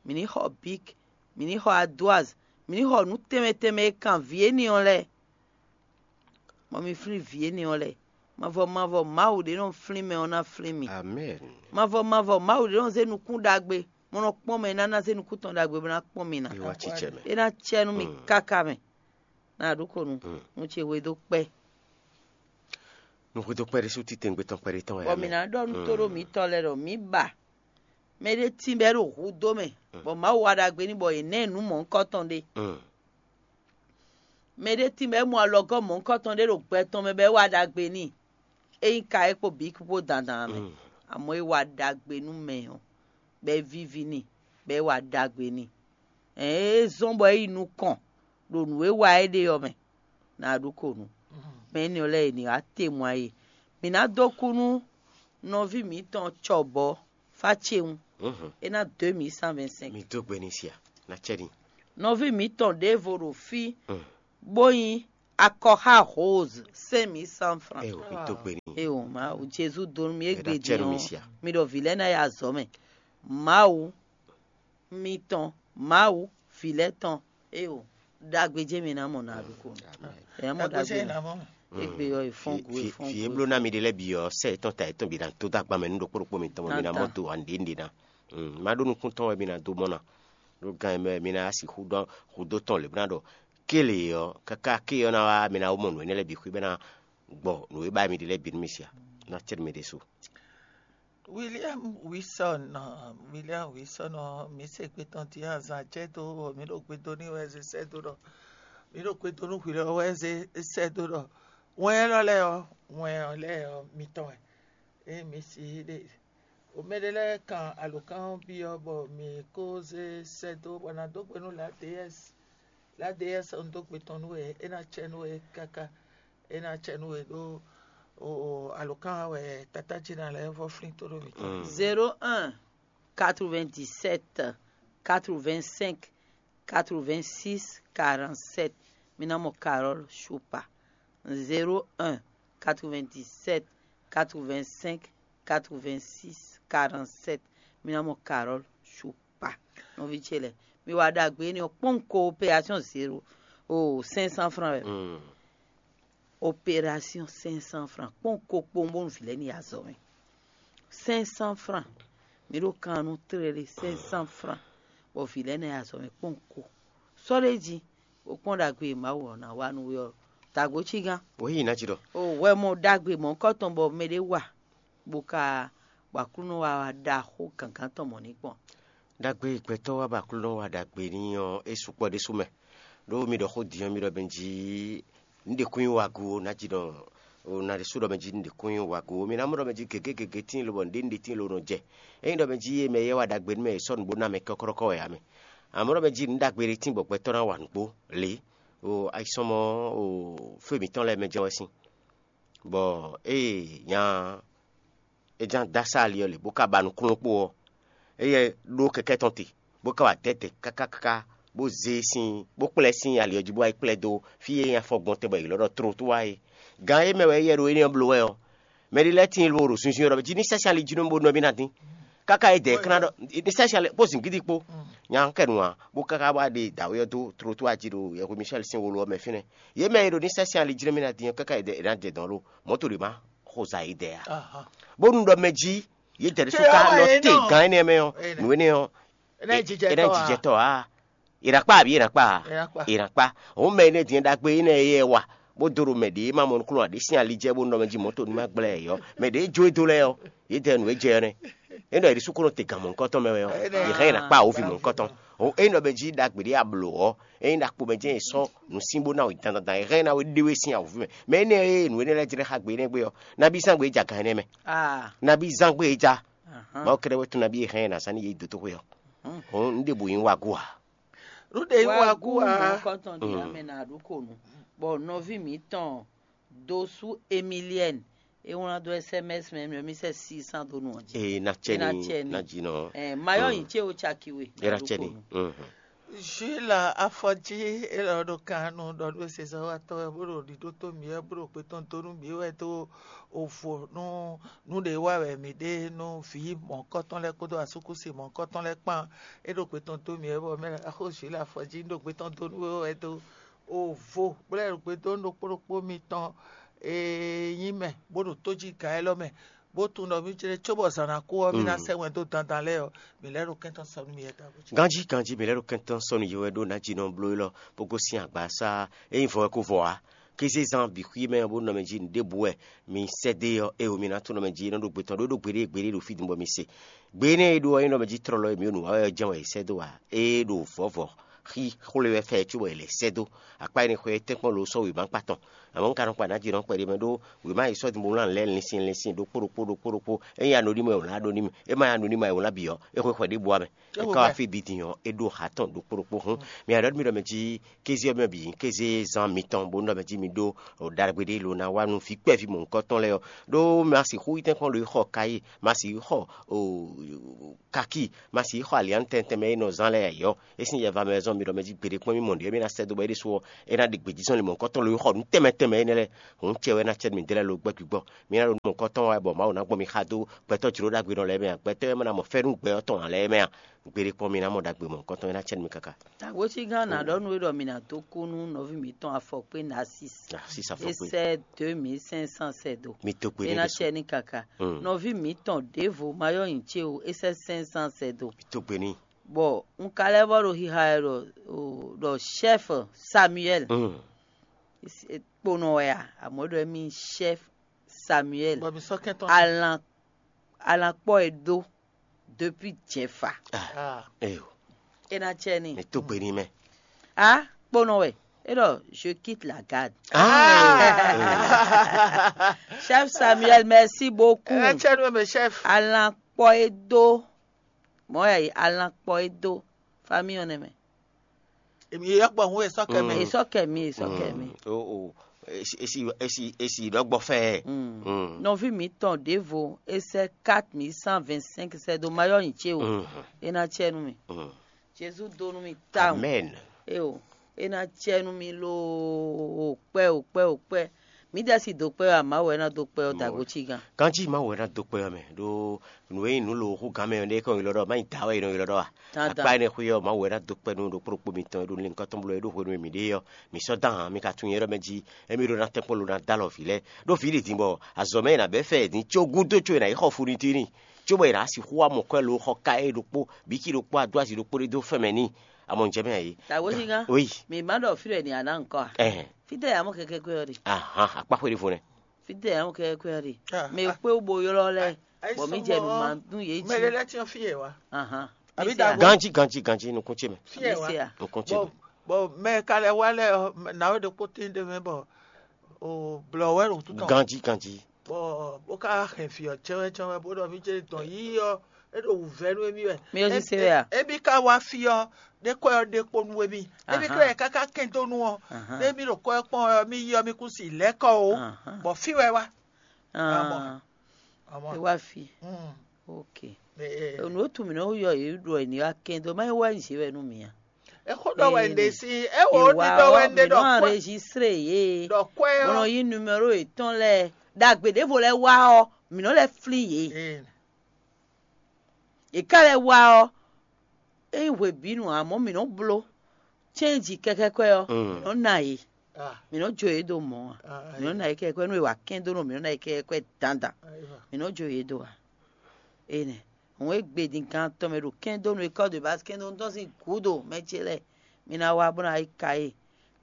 mǐ ní xɔ Bik, mǐ ní xɔ Adoaz, mǐ ní xɔ nǔ tɛnmɛ tɛnmɛ e kan vǐ énɛ́ ɔ́ lɛ́ɛ, bɔ mi flín vǐ énɛ́ ɔ́ lɛ́ɛ. Mavɔ mavɔ Mawu ɖě nɔ flín mɛ ɔ́ ná flín mi. Amɛn. Mavɔ mavɔ Mawu ɖě nɔ zé nukún ɖagbe, bó nɔ kpɔ́n mɛ e ná ná zé nukún tɔn ɖagbe bó ná kpɔ́n mi ná. È wá cícɛ mɛ. É ná cɛ nú mi káká mɛ. Ná ɖó ko nu, nu ce hwe dó kpɛ́. Nuxudo kpɛɖé sú titewungbe tɔn kpɛɖé tɔn wɛ. Bɔ mǐ ná ɖɔ nú tóɖó mǐtɔn lɛ́ɛ ɖɔ mǐ ba mɛ ɖé tín bɔ é ɖo hudó mɛ, bɔ Mawu wa ɖagbe n'i bɔ è nɛ́ ɛ nǔ mɔ̌hunkɔtɔn ɖé. Mɛ ɖé tín bɔ é mɔ alɔgɔ́ mɔ̌hunkɔtɔn ɖé ɖo gbɛ tɔn mɛ bɔ é wa ɖagbe n'i. É nyí ka é kpo bǐ kpó dandan mɛ. Amɔ̌ é wa ɖagbe nú mɛ ɔ́, bɔ é víví n'i, bɔ é wa ɖagbe n'i. Ɛ̌n, é zɔ́n bɔ é yi nukɔn ɖo nǔ e wa é ɖe ɔ́ mɛ. Ná ɖó ko nu. Mɛ énɛ́ ɔ́ lɛ́ɛ è nǐ wá te mɔ ayé. Mǐ ná dó kú nú nɔví mǐtɔn cɔbɔ̌ Facewun. É ná deux mille cent vingt-cinq. Mi dó gbe ní sia, ná cɛ ní. Nɔví mǐtɔn ɖěvo ɖo fí, bó nyí akɔxá Rose, cinq mille cent francs. Eo, mi dó gbe ní. Eo, Mawu, Jezu dó nú mi égbé din ɔ́, mi ɖɔ vǐ lɛ́ɛ ná yi azɔ̌ mɛ. Mawu mitɔn, Mawu vǐ lɛ́ɛ tɔn, eo, ɖagbe jɛ́n mi ná mɔ ná ɖokpó. Ɛ mɔ ɖagbe ná mɔ. Égbé ɔ́, è fɔ́n gu, è fɔ́n gu. Fí e bló ná mi ɖe lɛ́ɛ bǐ ɔ́, sɛ yětɔn ta yětɔn bǐ ná dó dó agban mɛ nú ɖokpó ɖokpó mitɔn bɔ mi ná mɔ do ǎ nǔɖé nǔɖé ná. Má ɖó nukúntɔn wɛ mi ná dó mɔ ná. Ɖó gan e mɛ mi ná sixú ɖɔ hudó tɔn lě bó ná ɖɔ kélé ɔ́, káká ké ɔ́ ná wá mi ná wó mɔ nǔ énɛ́ lɛ́ɛ bǐ xwé bɔ é ná gbɔ nǔ e ba mi ɖe lɛ́ɛ bǐ nú mi sia. Ná cɛ nú mi ɖésú. William Wilson, William Wilson ɔ́, mǐ se gbe tɔn din azǎn jɛ dó, mǐ ɖo gbe dó n'i wɛ zé sɛ́ dó ɖɔ, mǐ ɖo gbe dó nú hwi lɛ́ɛ wɛ zé sɛ́ dó ɖɔ, wɛn élɔ́ lɛ́ɛ ɔ́, wɛn ɔ́ lɛ́ɛ ɔ́, mitɔn wɛ. Ée mǐ si ɖe, o mɛ ɖé lɛ́ɛ kan alǒkan ɔ́ byɔ́ bɔ mǐ ko zé sɛ́ dó bɔ ná dó gbe nú Ladeyɛ́si. Ladeyɛ́si ɔ́, un dó gbe tɔn nú we, é ná cɛ nú we káká, é ná cɛ nú we ɖó alǒkan wɛ tatá ce ná lɛ́ɛ vɔ́ flín tó ɖó mǐtɔn. Zéro un, quatre-vingt-dix-sept, quatre-vingt-cinq, quatre-vingt-six, quarante-sept. Mi ná mɔ Carole Choupa. Zéro un, quatre-vingt-dix-sept, quatre-vingt-cinq, quatre-vingt-six, quarante-sept. Mi ná mɔ Carole Choupa. Nɔví ce lɛ́ɛ, mi wa ɖagbe énɛ́ ɔ́ kpɔ́n ko opération zéro o cinq cent francs wɛ. Opération cinq cent francs kpɔ́n ko kpowun bónú vǐ lɛ́ɛ ní yi azɔ̌ mɛ. Cinq cent francs, mǐ ɖo kan nú tlélé cinq cent francs, bɔ vǐ lɛ́ɛ ná yi azɔ̌ mɛ kpɔ́n ko. Sɔ́ ɖ'é jí, bó kpɔ́n ɖagbe e Mawu ɔ́ ná wa nú we ɔ́, dǎgbó cí gán. Wǒ yi ná jí ɖɔ. O hwɛ mɔ ɖagbe mɔ̌hunkɔtɔn bɔ mɛɖé wa, bó ka bɔ Aklúnɔ wa wá ɖaxó gǎngán tɔn mɔ̌ ní kpɔ́n. Ɖagbe e gbɛtɔ́ wa bɔ Aklúnɔ wa ɖagbe n'i ɔ́, é sukpɔ́ ɖésú mɛ. Ɖó mi ɖɔ xó din ɔ́, mi ɖɔ mɛ jí nǔ ɖě kún nyí wagu ó, ná jí ɖɔ o ná ɖésú ɖɔ mɛ jí nǔ ɖě kún nyí wagu ó. Mi ná mɔ ɖɔ mɛ jí gěgé gěgé tíin lobɔ nǔɖé nǔɖé tíin lo nɔ jɛ. Ényí ɖɔ mɛ jí e mɛ yɛ wa ɖagbe nú mɛ e sɔ́ nǔ bó ná mɛ kɔ́kɔ́kɔ́ wɛ ǎ mɛ. Amɔ̌ ɖɔ mɛ jí nǔ ɖagbe ɖé tíin bɔ gbɛtɔ́ ná wa nǔgbó lě. O ayisɔ́mɔ o fé mǐtɔn lɛ́ɛ mɛ jɛ́n wɛ sín. Bɔ ée nya é ján dó asá ali ɔ́ lě, bó ka ba nǔkplɔ́n kpó ɔ́, éyɛ́ ɖó kɛkɛ́ tɔn te, bó ka wá dɛ̌dɛ̌ káká káká, bó zé sín, bó kplá ɛ sín ali ɔ́ jí, bó wá yi kplá ɛ dó fí e nyí afɔgbɔntɛn bɔ è ylɔ́ ɖɔ tlotwá é. Gan e mɛ wɛ éyɛ́ ɖo énɛ́ ɔ́ bló wɛ ɔ́, mɛɖé lɛ́ɛ tíin ló ɖo zunzun ɔ́ ɖɔ jí ní sɛ́ sín ali jí nú mì bó nɔ mì ná dín. Káká é dɛ̌ é kplá ɖɔ ní sɛ́ sín ali kpó zǐngídi kpó. Nya kɛ nu ǎ, bó káká wá ɖe dǎwe ɔ́ dó tlotwá jí ɖo yɛhwe Michel sín wolo ɔ́ mɛ fínɛ́. Yě mɛ e ɖo ní sɛ́ sín ali jí nú mì ná dín ɔ́, káká é dɛ̌ é ná jɛ dɔ̌n lo, mɔ̌ to ɖě má xo zǎ yědɛɛ ǎ. Bónú ɖɔ mɛ jí yědɛɛ ɖésú ka nɔ te gǎn énɛ́ mɛ ɔ́, nǔ énɛ́ ɔ́, é ná jijɛ tɔ́ ǎ. È nǎ kpá àbí è nǎ kpá ǎ? È nǎ kpá. Òun mɛ énɛ́ din ɖagbe énɛ́ e yɛ wa, bó dó ɖo mɛ ɖě ma mɔ nukúnnú ǎ ɖé sín ali jɛ bó nɔ mɛ jí mɔ̌ to ní má gblɛ́ ɛ ɔ́, mɛ ɖě jó e dó lɛ́ɛ ɔ́, yědɛɛ nǔ e jɛ ɔ́ nɛ́. É ɖɔ è ɖésú ko nɔ te gǎn mɔ̌hunkɔtɔn mɛ wɛ ɔ́, è hɛn è nǎ kpá awǒvi mɔ̌hunkɔtɔn. Ényí ɖɔ mɛ jí ɖagbe ɖé a blǒ ɔ́, ényí ɖakpo mɛ jɛ́n è sɔ́ nǔ sín bó ná wɛ dandan, è hɛn ná we ɖe we sín awǒvi mɛ. Mɛ énɛ́ e nǔ énɛ́ lɛ́ɛ jlɛ́ xá gbe énɛ́ gbe ɔ́, nabí zán gbe é ja gan énɛ́ mɛ. Nabí zán gbe é ja. Mawu kɛ́ɖɛ́ wɛ tunwun nabí è hɛn ɛ ná zán n'i yě yi dotóxwé ɔ́. Hɔn un ɖěbǔ nyí wágú ǎ. Nǔ ɖě nyí wágú ǎ. Mɔ̌hunkɔtɔn ɖě amɛ ná ɖó ko nǔ, bɔ nɔví mǐtɔn Dosú Emiliɛ́ni, é wlán dó S M S mɛ mɛ mi sɛ six cent dó nú ɔ́ jí. Ee, na cɛ ni, na jinɔ. Ɛ, mayɔ yin ce o caki we. Era cɛ ni. Mhm. Jules Afɔjí, élɔ́ ɖo kan nú ɖɔ nú sezɔ́watɔ́ wɛ, bó ɖo ɖiɖó tó mǐ wɛ, bó ɖo gbetɔ́n dó nú mǐ wɛ dó ovo nú nú ɖě wa wɛ mǐ ɖe nú vǐ mɔ̌kɔtɔn lɛ́ɛ kpódó asúkúsi mɔ̌kɔtɔn lɛ́ɛ kpán. É ɖo gbetɔ́n dó mǐ wɛ bɔ mɛ axó Jules Afɔjí ɖo gbetɔ́n dó nú we wɛ dó ovo, bó lɛ́ ɖo gbe dó nú ɖokpó ɖokpó mitɔn e nyí mɛ bó ɖo tójíga élɔ́ mɛ, bó tunwun ɖɔ mì jlé cóbɔ zǎn ná kú ɔ́, mì ná sɛ́ wɛn dó dandan lɛ́ɛ ɔ́, mǐ lɛ́ ɖo kɛntɔ́ sɔ́ nú mì wɛ dó agojí. Ganjí ganjí, mǐ lɛ́ ɖo kɛntɔ́ sɔ́ nú yě wɛ ɖó nǎjínɔ bló élɔ́ bó gosín agbasá e nyí vɔ wɛ kó vɔ ǎ. Kézé zán bǐ xwí mɛ ɔ́, bó nɔ mɛ jí nǔɖěbǔ wɛ mi sɛ́ dó é ɔ́, éwo mi ná tunwun ɖɔ mɛ jí é nɔ ɖo gbe tɔn ɖó é ɖo gbeɖé gbeɖé ɖo fí din bɔ mi se. Gbe énɛ́ e ɖó ɔ́ nyí ɖɔ mɛ jí tlɔlɔ e mǐ ɖo nǔ wa wɛ ɔ́ jɛ́n wɛ è sɛ́ dó ǎ. É ɖo vɔ̌vɔ́ xí xwlé wɛ fɛ cóbɔ è lɛ̌ sɛ́ dó. Akpá énɛ́ xwé tɛ́nkpɔ́n lo sɔ́ wěma kpa tɔn. Amɔ̌ un ka nɔ kpa nǎ jǐ nɔ kpɛɖé mɛ ɖó wěma e sɔ́ din bó wlán lɛ́ɛ linsin linsin ɖokpó ɖokpó ɖokpó ɖokpó. Ényí anodímɔ è wlán ɖó n'i mɛ, é ma nyí anodímɔ è wlán bǐ ɔ́, é xwe xwɛ ɖěbǔ ǎ mɛ. É ka wá fí din ɔ́, é ɖó ha tɔn ɖokpó ɖokpó hún. Mi aɖɔ mi ɖɔ mɛ jí kéze ɔ́ mɛ bǐ nyí kéze zán mitɔn bónú ɖɔ mɛ jí mi ɖó ɖagbe ɖé lo ná wá nú vǐ kpɛví mɔ̌hunkɔtɔn lɛ́ɛ ɔ́. Ɖó ma sixú yi tɛ́nkpɔ́n lo yi xɔ káyí, ma sixú xɔ kakí, ma sixú xɔ aliǎn tɛntɛn mɛ e nɔ zán lɛ́ɛ ǎ ɔ́, é sín yɛva mɛ wɛ zɔ́n mi ɖɔ mɛ jí gbeɖé kpɔ́n mì mɔ ɖě mi ná sɛ́ dó bɔ é ɖésú ɔ́, é ná ɖi gbějízɔ́n li mɔ̌hunkɔtɔn lo yi xɔ nǔ tɛnmɛ tɛnmɛ énɛ́ lɛ́ɛ. Hǔn cɛ wɛ ná cɛ nú mi dó lɛ́ɛ lo gbɛ́ gbígbɔ. Mi ná ɖo nú mɔ̌hunkɔtɔn wɛ bɔ Mawu ná gbɔn mi xá dó gbɛtɔ́ jlǒ ɖagbe nɔ lɛ́ɛ mɛ ǎ. Gbɛtɔ́ e ma ná mɔ fɛ́nú gbɛ ɔ́ tɔn ǎ lɛ́ɛ mɛ a? Gbeɖé kpɔ́n mi ná mɔ ɖagbe mɔ̌hunkɔtɔn e ná cɛ nú mi káká. Tagwécígán ná ɖɔ nú we ɖɔ mi ná dó kú nú nɔví mǐtɔn afɔkpé Narcisse. Narcisse afɔkpé. É sɛ́ deux mille cinq cents sɛ́ dó. Mi dó gbe é ná cɛ ní káká. Nɔví mǐtɔn ɖěvo ma yɔ́ nyi cé o, é sɛ́ cinq cents sɛ́ dó. Mi dó gbe n'i. Bɔ un ka lɛ́ vɔ ɖo xixa wɛ ɖɔ ɖɔ chef Samuel. Kponɔ wɛ a? Amɔ̌ ɖɔ émí chef Samuel. Bɔ mi sɔ́ kɛntɔ́. Alan alan kpɔ́ e dó depuis jɛfa. Eyo. É ná cɛ ní. Mi tó gbe ní mɛ. A kponɔ wɛ. É ɖɔ je quitte la garde. Chef Samuel, merci beaucoup. É ná cɛ nú mɛ chef. Alan kpɔ́ e dó. Mɔ̌ yɛ yi alan kpɔ́ e dó. Famille ɔ́ nɛ mɛ. Èmi yɔ gbɔ hun esɔ kɛ mɛ. Esɔ kɛ mi, esɔ kɛ mi. O o. Esi esi esi esi ɖɔgbɔ fɛ. Nɔví mǐtɔn ɖěvo é sɛ́ quatre mille cent vingt-cinq sɛ́ dó mayɔ́ nyi cé o. É ná cɛ nú mi. Jezu dó nú mi tawun. Amen. Eo, é ná cɛ nú mi loo kpɛ o kpɛ o kpɛ. Mǐ ɖɛ si dó kpɛ ɔ́, Mawu wɛ ná dó kpɛ ɔ́ tago cí gán. Kanjí Mawu wɛ ná dó kpɛ ɔ́ mɛ ɖó nǔ e nyí nǔ lo hú gán mɛ ɔ́ ɖé kɔn ylɔ́ ɖɔ má nyí dǎ wɛ è nɔ ylɔ́ ɖɔ a? Akpá énɛ́ xwé ɔ́, Mawu wɛ ná dó kpɛ nú ɖokpó ɖokpó mitɔn e ɖo linkɔtɔn bló e ɖo hwenu e mǐ ɖe ɔ́, mǐ sɔ́ dán ǎ, mi ka tunwun nyɛ ɖɔ mɛ jí émí ɖó ná tɛ́nkpɔ́n lo ná dó alɔ vǐ lɛ́ɛ. Ɖó vǐ ɖě din bɔ azɔ̌ mɛ è nǎ bɛ́ fɛ è din có gúdo có è nǎ yi xɔ fu n'i tín n'i, cóbɔ è nǎ sixú wá mɔ kwɛ́ lo xɔ ka e ɖokpó bǐ cí ɖokpó adó azi ɖokpó ɖé dó fɛ́n mɛ n'i. Amɔ un jɛ mɛ ǎ é. Tawézígán, oui. Mǐ ma ɖɔ fí ɖɔ è nǐ ná ná ŋkɔ a? Ɛhɛn. Fítɛ́ yǎ mɔ kɛkɛ kwɛ́ ɔ́ ɖe? Ahan, akpá xwé ɖěvo nɛ́. Fítɛ́ yǎ mɔ kɛkɛ kwɛ́ ɔ́ ɖe? Mɛ e kpé wú bo ylɔ́ lɛ́ɛ, bɔ mǐ jɛ nǔ ma nú yě jí. Mɛ lɛ́ lɛ́ cyɔ́n fí e wá. Ahan. Àbí Mí se a? Ganjí, ganjí, ganjí, nukún ce mɛ. Fí e Mí wá. se a? Nukún ce Bɔ mɛ. Bɔ mɛ ka lɛ́ wá lɛ́ɛ ɔ́, nǎwe ɖokpó tín ɖé mɛ bɔ o blɔ wɛ ɖo tútɔ. Ganjí, ganjí. Bɔ bó ka hɛn fí ɔ́ cɛwɛcɛwɛ bó ɖɔ mí jɛ dɔn yí ɔ́, é ɖo wǔvɛ́ nú émí wɛ. Mí ɔ́ sise wɛ a? Émí ka wá fí ɔ́, ɖé kɔ́ ɔ́ ɖé kpó nú émí. Émí Ahan. Klɛ́ káká kɛn dó nú ɔ́, Ahan. Ɖé mí ɖo kɔ́ ɔ́ kpɔ́n ɔ́, mí yí ɔ́ mí kú si lɛ̌ kɔ o. Ahan. Bɔ fí wɛ wá. Ah, Amɔ. É wá fi. Mm. Ok. Ɛ, ɛ. Nǔ e tunwun mǐ nɔ yɔ yě ɖɔ è ní wá kɛn dó má é wá nyí zě wɛ nú mǐ a? Exó ɖɔ wɛ un ɖe sí, é wò ó ɖi ɖɔ wɛ un ɖe ɖɔ kwɛ. Enregistré yě. Ɖɔ kwɛ ɔ́. Bó nɔ yí numéro yětɔn lɛ́ɛ. Ɖagbe ɖěvo lɛ́ɛ wá ɔ́, mǐ nɔ lɛ́ flín yě. Ee. È ká lɛ́ wá ɔ́, é nyí hwebǐnu ǎ, amɔ̌ mǐ nɔ́ bló cɛ́nji kɛkɛ́kwɛ́ ɔ́, mǐ nɔ́ ná yě. Mǐ nɔ́ jó yě dó mɔ̌ ǎ. Mǐ nɔ́ ná yě kɛkɛ́kwɛ́ nú è wa kɛ́n dó nɔ mǐ nɔ́ ná yě kɛkɛ́kwɛ́ dandan. Mǐ nɔ́ jó yě dó ǎ. Énɛ́ hǔn e gbe din gan tɔn mɛ ɖo kɛ́n dó nú é kɔ́ dó bá kɛ́n dó nú tɔ́n sín gǔdo mɛ ce lɛ́ɛ, mi ná wá bó ná yi ka yě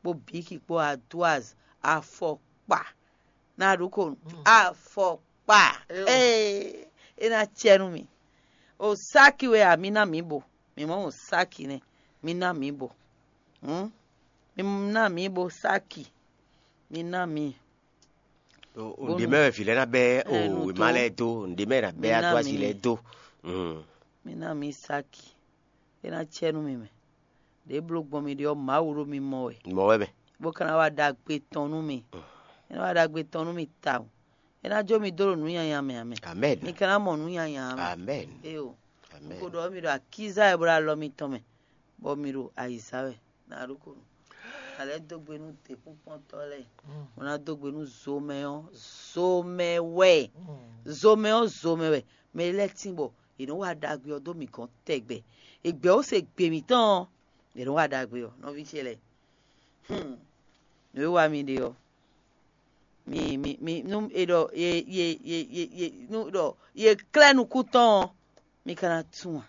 kpó bǐki kpó adwaz afɔkpa. Ná ɖu ko afɔkpa. Ee, é ná cɛ nú mi. O sáki wɛ a, mi ná mi bo. Mi mɔ o sáki nɛ. Mi ná mi bo. Hmm? Mi ná mi bo sáki. Mi ná mi. Ǹdě mɛ wɛ vǐ lɛ́ɛ ná bɛ́ o wěma lɛ́ɛ dó, ǹdě mɛ ná bɛ́ adwází lɛ́ɛ dó. Mi ná mi sáki. É ná cɛ nú mi mɛ. Ɖě bló gbɔn mi ɖe ɔ́, Mawu ɖo mi mɔ wɛ. Mɔ wɛ mɛ. Bó ka ná wá ɖagbe tɔn nú mi. É ná wá ɖagbe tɔn nú mi tawun. É ná jó mi dó ɖo nǔ nyanya mɛ ǎ mɛ. Amen. Mi ka ná mɔ nǔ nyanya ǎ mɛ. Amen. Éyo. Amen. Un ko ɖɔ mi ɖo akíza wɛ bó ɖo alɔ mitɔn mɛ. bɔ mi ɖo ayǐzá wɛ. Nǎ ɖokpónɔ. A lɛ́ dó gbe nú děkúnkpɔ́ntɔ́ lɛ́ɛ, bó ná dó gbe nú zomɛ ɔ́, zomɛ wɛ. Zomɛ ɔ́, zomɛ wɛ. Mɛ lɛ́ɛ tín bɔ è nɔ́ wa ɖagbe ɔ́ dó mǐ gɔ́n tɛgbɛ. È gbɛ̌ ó se gbe mǐtɔn ɔ́, è nɔ́ wa ɖagbe ɔ́, nɔví ce lɛ́ɛ. Hmm. Nǔ e wa mi ɖe ɔ́, mi mi mi nú è ɖɔ ye ye ye ye ye nú ɖɔ ye klɛ́ nukún tɔn ɔ́, mi ka ná tunwun a?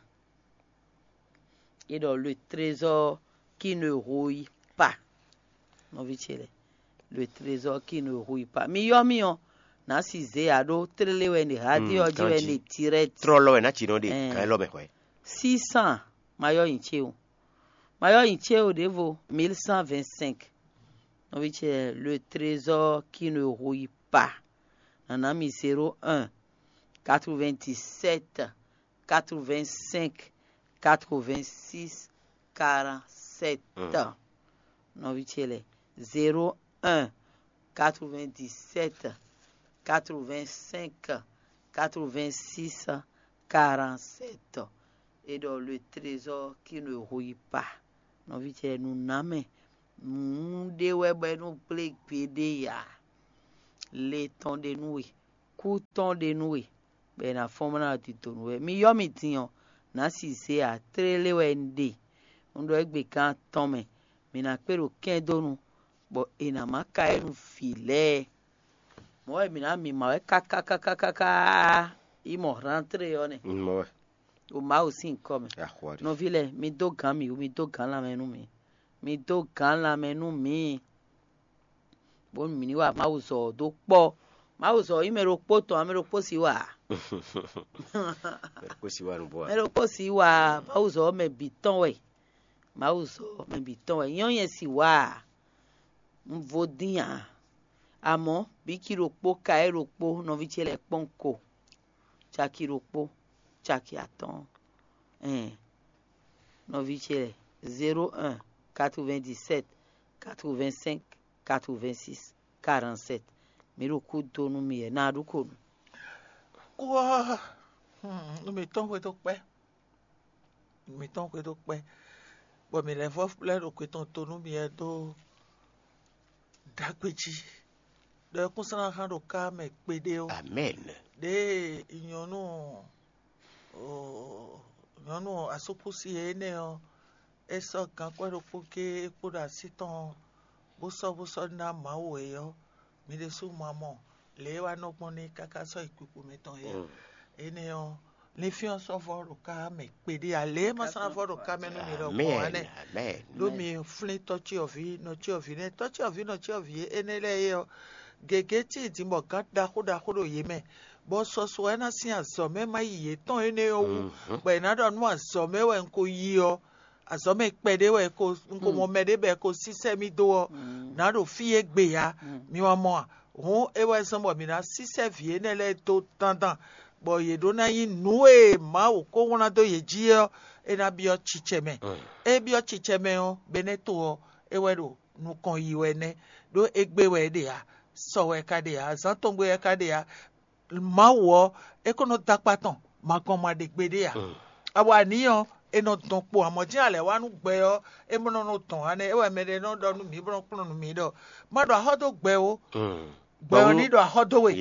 È ɖɔ le trésor qui ne rouille pas. Nɔví ce lɛ́ɛ, le trésor qui ne rouille pas. Mi yɔ́ mì ɔ́, nǎ si zě ǎ ɖó tlélé wɛ ɖe hádé ɔ́ jí wɛ ɖe direct. Trɔlɔ wɛ ná ci nɔ ɖe Ɛɛ. Kan élɔ́ mɛ hwɛ. Six cents, ma yɔ́ nyi ce o. Ma yɔ́ nyi ce o ɖěvo, mille cent vingt-cinq. Nɔví ce lɛ́ɛ, le trésor qui ne rouille pas. Nǎ ná mi zéro un, quatre-vingt-dix-sept, quatre-vingt-cinq, quatre-vingt-six, quarante-sept. Nɔví ce lɛ́ɛ, zéro un, quatre-vingt-dix-sept, quatre-vingt-cinq, quatre-vingt-six, quarante-sept. È ɖɔ le trésor qui ne rouille pas. Nɔví ce lɛ́ɛ, nǔnámɛ, nǔ ɖé wɛ bɔ é nɔ gblé gbeɖé ǎ. Le tɔn ɖe nú we, kú tɔn ɖe nú we, bɔ è nǎ fɔ́n bó ná didonu wɛ. Mi yɔ́ mì din ɔ́, nǎ si zé ǎ, tlélé wɛ un ɖe. Un ɖɔ égbé gán atɔn mɛ, mǐ ná kpé ɖo kɛ́ndónu, bɔ è nǎ má ka ɛ nú vǐ lɛ́ɛ. Mɔ̌ wɛ mǐ ná mǐmá wɛ káká káká káká yi mɔ hlántlé ɔ́ nɛ́. Mɔ wɛ. Ɖo Mawu sín nyǐkɔ mɛ. Axwa ɖi. Nɔví lɛ́ɛ, mi dó gǎn mǐ wú, mi dó gǎn lanmɛ nú mǐ. Mi dó gǎn lanmɛ nú mǐ. Bónú mǐ ní wa Mawu zɔ ɔ́ dó kpɔ́. Mawu zɔ ɔ́ nyí mɛ ɖokpó tɔn, ǎ, mɛ ɖokpó sí wa ǎ. Mɛ ɖokpó sí wa nǔgbó wa. Mɛ ɖokpó sí wa ǎ. Mawu zɔ ɔ́ mɛ bǐ tɔn wɛ. Mawu zɔ ɔ́ mɛ bǐ tɔn wɛ. Nyɔ́ nyɛ sí wa ǎ. Un vo dín ǎ. Amɔ̌, bǐ cí ɖokpó ka é ɖokpó nɔví ce lɛ́ɛ kpɔ́n ko. Caki ɖokpó, caki atɔ́ɔ́n. Ɛn, nɔví ce lɛ́ɛ, zéro un, quatre-vingt-dix-sept, quatre-vingt-cinq, quatre-vingt-six, quarante-sept. Mǐ ɖo kú dó nú mi wɛ, ná ɖu ko nú. Kú ɔ́, hmm, nú mǐtɔn xwedó kpɛ́. Nú mǐtɔn xwedó kpɛ́. Bɔ mǐ lɛ́ vɔ́ lɛ́ ɖo kwe tɔn to nú mi wɛ dó ɖagbe jí. Ɖɔ kúnslán hán ɖo ká mɛ kpeɖé ó. Amɛn. Ɖěe nyɔ̌nu, oo, nyɔ̌nu asúkúsi énɛ́ ɔ́, é sɔ́ gankwɛ́ ɖokpó géé é kpo ɖo así tɔn ɔ́, bó sɔ́ bó sɔ́ ná Mawu é ɔ́, mi ɖésú ma mɔ lě e é wá nɔ gbɔn n'i káká sɔ́ yi kpikpo mǐtɔn é ǎ. Mm. Énɛ́ ɔ́, linfín ɔ́ sɔ́ vɔ́ ɖo ká mɛ kpeɖé ǎ. Lě e ma sɔ́ ná vɔ́ ɖo ká mɛ nú mi ɖɔhun ǎ nɛ́. Amɛn. Ɖó mi flín tɔ́cyɔvǐ, nɔcyɔvǐ nɛ́, tɔ́cyɔvǐ, nɔcyɔvǐ énɛ́ lɛ́ɛ é ɔ́, gěgé tíin din bɔ gǎn ɖaxó ɖaxó ɖo yě mɛ, bɔ sɔsɔ wɛ ná sín azɔ̌ mɛ má yi yětɔn énɛ́ ɔ́ wú, bɔ è nǎ ɖɔ nú azɔ̌ mɛ wɛ un ko yi ɔ́, azɔ̌ mɛ kpɛɖé wɛ ko, un ko mɔ mɛɖé bɔ è ko sísɛ́ mì dó ɔ́, nǎ ɖo fí e gbe ǎ. Mi wá mɔ a? Hǔn é wɛ zɔ́n bɔ mǐ ná sísɛ́ vǐ énɛ́ lɛ́ɛ dó dandan, bɔ yě ɖó ná nyí nǔ e Mawu ko wlán dó yě jí é ɔ́, é ná byɔ́ cicɛ mɛ. É byɔ́ cicɛ mɛ ɔ́, Benɛ́to ɔ́, é wɛ ɖo nukɔn yi wɛ nɛ́, ɖó égbé wɛ é ɖe ǎ, sɔ wɛ é ka ɖe ǎ, zǎn tɔn gbe wɛ é ka ɖe ǎ. Mawu ɔ́, é ko nɔ dó akpá tɔn, ma gɔn ma ɖe gbeɖé ǎ. Awa ní ɔ́, è nɔ dɔn kpo amɔ̌ jɛ́n alɛ̌ wá nú gbɛ ɔ́, é mɔ nɔ nɔ dɔn ǎ nɛ́, é wɛ mɛɖé nɔ ɖɔ nú mǐ bó nɔ kplɔ́n nú mǐ ɖɔ: "Má ɖo axɔ́ dó gbɛ ó, gbɛ ɔ́ ní ɖo axɔ́ dó we."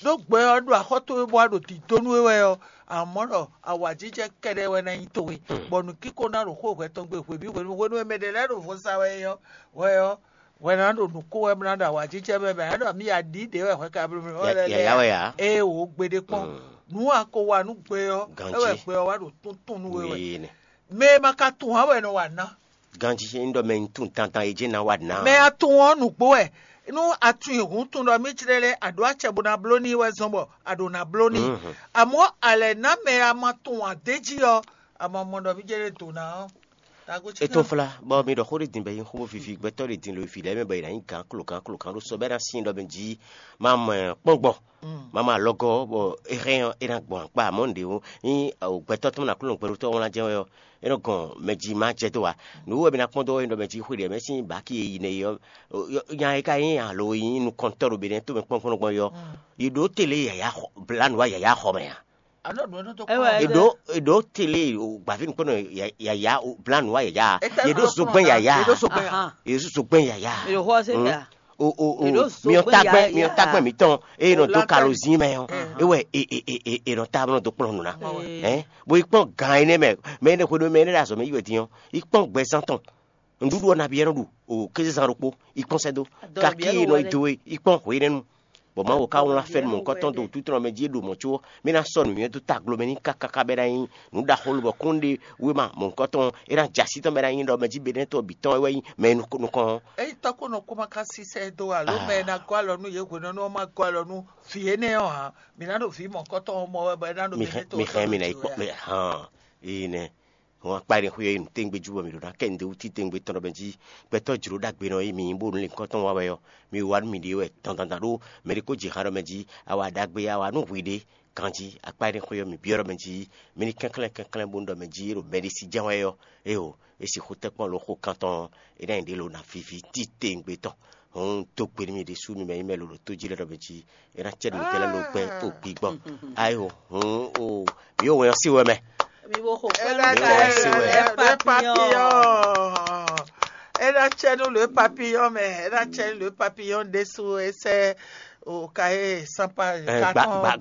Ɖó gbɛ ɔ́ ɖo axɔ́ towe bɔ a ɖo dǐdó nú é wɛ ɔ́, amɔ̌ ɖɔ awǎjijɛ kɛɖɛ́ wɛ ná nyí towe, bɔ nǔkíko ná ɖo xó hwɛ tɔn gbe hwebǐ hwenu hwenu e mɛ ɖě lɛ́ɛ ɖo vo sa wɛ é ɔ́, hwɛ ɔ́, hwɛ ná ɖo nǔ kó wɛ bó ná ɖo awǎjijɛ mɛ bɛ ná ɖɔ mì aɖǐ ɖě wɛ hwɛ ka bló mì wɛ lɛ́ɛ yǎyá wɛ ǎ. Ée wǒ gbeɖé kpɔ́n. Nǔ a ko wa nú gbɛ ɔ́, é wɛ gbɛ ɔ́ wá ɖo túntún nú we wɛ. Mɛ e ma ka tunwun ǎ wɛ nɔ wa ná. Ganjí é ɖɔ mɛ nyi tún dandan é jɛ ná wa ná. Mɛ a tunwun ɔ́ nǔgbó wɛ. Nú a tunwun hǔn tunwun ɖɔ mì jlɛ́ lɛ́ɛ a ɖǒ acɛ bó ná bló n'i wɛ zɔn bɔ a ɖǒ ná bló n'i. Amɔ̌ a lɛ̌ ná mɛ a ma tunwun ǎ d'é jí ɔ́, a ma mɔ ɖɔ mì jɛ ɖe dǒ ná ɔ́. Tago cí É tɔ́n flá, bɔ mi ɖɔ xó ɖé din bɔ é nyí xó bó vivi gbɛtɔ́ ɖé din lo vǐ lɛ́ɛ mɛ bɔ è nǎ nyí gǎn klogǎn klogǎn ɖó sɔ bɔ é ná sin ɖɔ mɛ jí ma mɔ kpɔ́ngbɔn, ma mɔ alɔgɔ́, bɔ é hɛn ɔ́, é ná gbɔn akpá amɔ̌ nǔɖé ó. Nyí gbɛtɔ́ tɔn ná kplɔ́n gbɛɖótɔ́ wlán jɛ́n wɛ ɔ́, é nɔ gɔn mɛ jí ma jɛ dó ǎ. Nǔ wɛ mi ná kpɔ́n dó é ɖɔ mɛ jí xwé ɖě mɛ sín bǎki e yi nɛ é ɔ́, nya e ka nyí alo e nyí nukɔntɔ́ ɖo Benɛ́ to mɛ kpɔ́ngbɔ́n gbɔn é ɔ́, yi ɖǒ tele yǎyá xɔ, blǎ nǔ wá yǎyá xɔ mɛ ǎ. Anɔ ɖu ɛnɔ dɔ kpɔn. Eɖo eɖo tele o gbavi nukpɔnɔ yaya o blannu wa yaya. Yeɖo zogbɛn yaya. Yeɖo zogbɛn ya. Yeɖo zogbɛn yaya. Eɖo xɔ se ya. O o o. Miɔ tagbɛ miɔ tagbɛ mitɔn eye nɔ do kalo zin mɛ ɔ. Ewɛ e e e e nɔ ta nɔ do kplɔn nu na. Ɛ bo yi kpɔn gan yi nɛ mɛ mɛ ne xwe do mɛ ne ɖe azɔ mɛ yi wɛ din ɔ yi kpɔn gbɛzan tɔn. Nǔɖuɖu ɔ́ nabí ɛ́ nɔ ɖu o kézezán ɖokpó yi kpɔ́n sɛ́ dó. Kakí e nɔ yi do é yi kpɔ́n hwenɛ́nu. Bɔ Mawu ka wlán fɛ́nú mɔ̌hunkɔtɔn dó wútu tɔn mɛ jí e ɖo mɔ̌ có mì ná sɔ́ nǔnywɛ́ dó taglo mɛ n'i káká bɔ é ná nyí nǔ ɖaxó lobɔ kún ɖe wéma mɔ̌hunkɔtɔn é ná jɛ así tɔn bɔ é ná nyí ɖɔ mɛ jí Benɛ́tɔ́ bǐ tɔn wɛ wɛ nyí mɛ e nukɔn ɔ́. Ényí tɔ́ ko nɔ kó ma ka sísɛ dó alo mɛ e ná gɔ́ alɔ nú yě hwenɛ́nu ɔ́ ma gɔ́ alɔ nú vǐ énɛ́ ɔ́ ǎ, mǐ ná ɖo vǐ mɔ̌hunkɔtɔn ɔ́ mɔ wɛ bɔ é ná ɖo mi hɛn mi hɛn mi ná yi kpɔ́n mɛ hàn. Eye nɛ́. Hɔn akpa ɖé xwé yi nǔtɛ́ngbé jú bɔ mǐ ɖo ná kɛ nǔɖé wú títɛngbé tɔn ɖɔ mɛ jí. Gbɛtɔ́ jlǒ ɖagbe nɔ yi mǐ nyí bónú lǐnkɔ́n tɔn wa wɛ ɔ́, mi wa nú mǐɖée wɛ dandan ɖó mɛ ɖé kó jɛ xan ɖɔ mɛ jí awa ɖagbe awa nú hwiɖée ganjí akpa ɖé xwé ɔ́ mǐ byɔ́ ɖɔ mɛ jí. Mi ní kɛnklɛ́n kɛnklɛ́n bónú ɖɔ mɛ jí e ɖo mɛɖé sí jɛ́n wɛ ɔ́, éeǒ, é sixú tɛ́ kpɔ́n lǒ xo kan tɔn é ná nyí ɖě lo ná víví títɛngbé tɔn. Hɔn dó gbe nú mi ɖésú mi mɛ nyí mɛ lǒ ɖo tó jí lɛ́ɛ ɖɔ mɛ jí é ná cɛ nǔ tɛ́ lɛ́ɛ lo gbɛ́ kpo gbigbɔn. Ayo, hɔn o, mi yóò wɛn ɔ́ sí wɛ mɛ. Mi bo xo kpɛ́ nú Ela ta ɛ, ɛ, ɛ, ɛ, ɛ, papiyɔn. Ela cɛ nu le papiyɔn mɛ, ela cɛ nu le papiyɔn ɖésú esɛ o ka e sanpa Ɛ, gba- gba-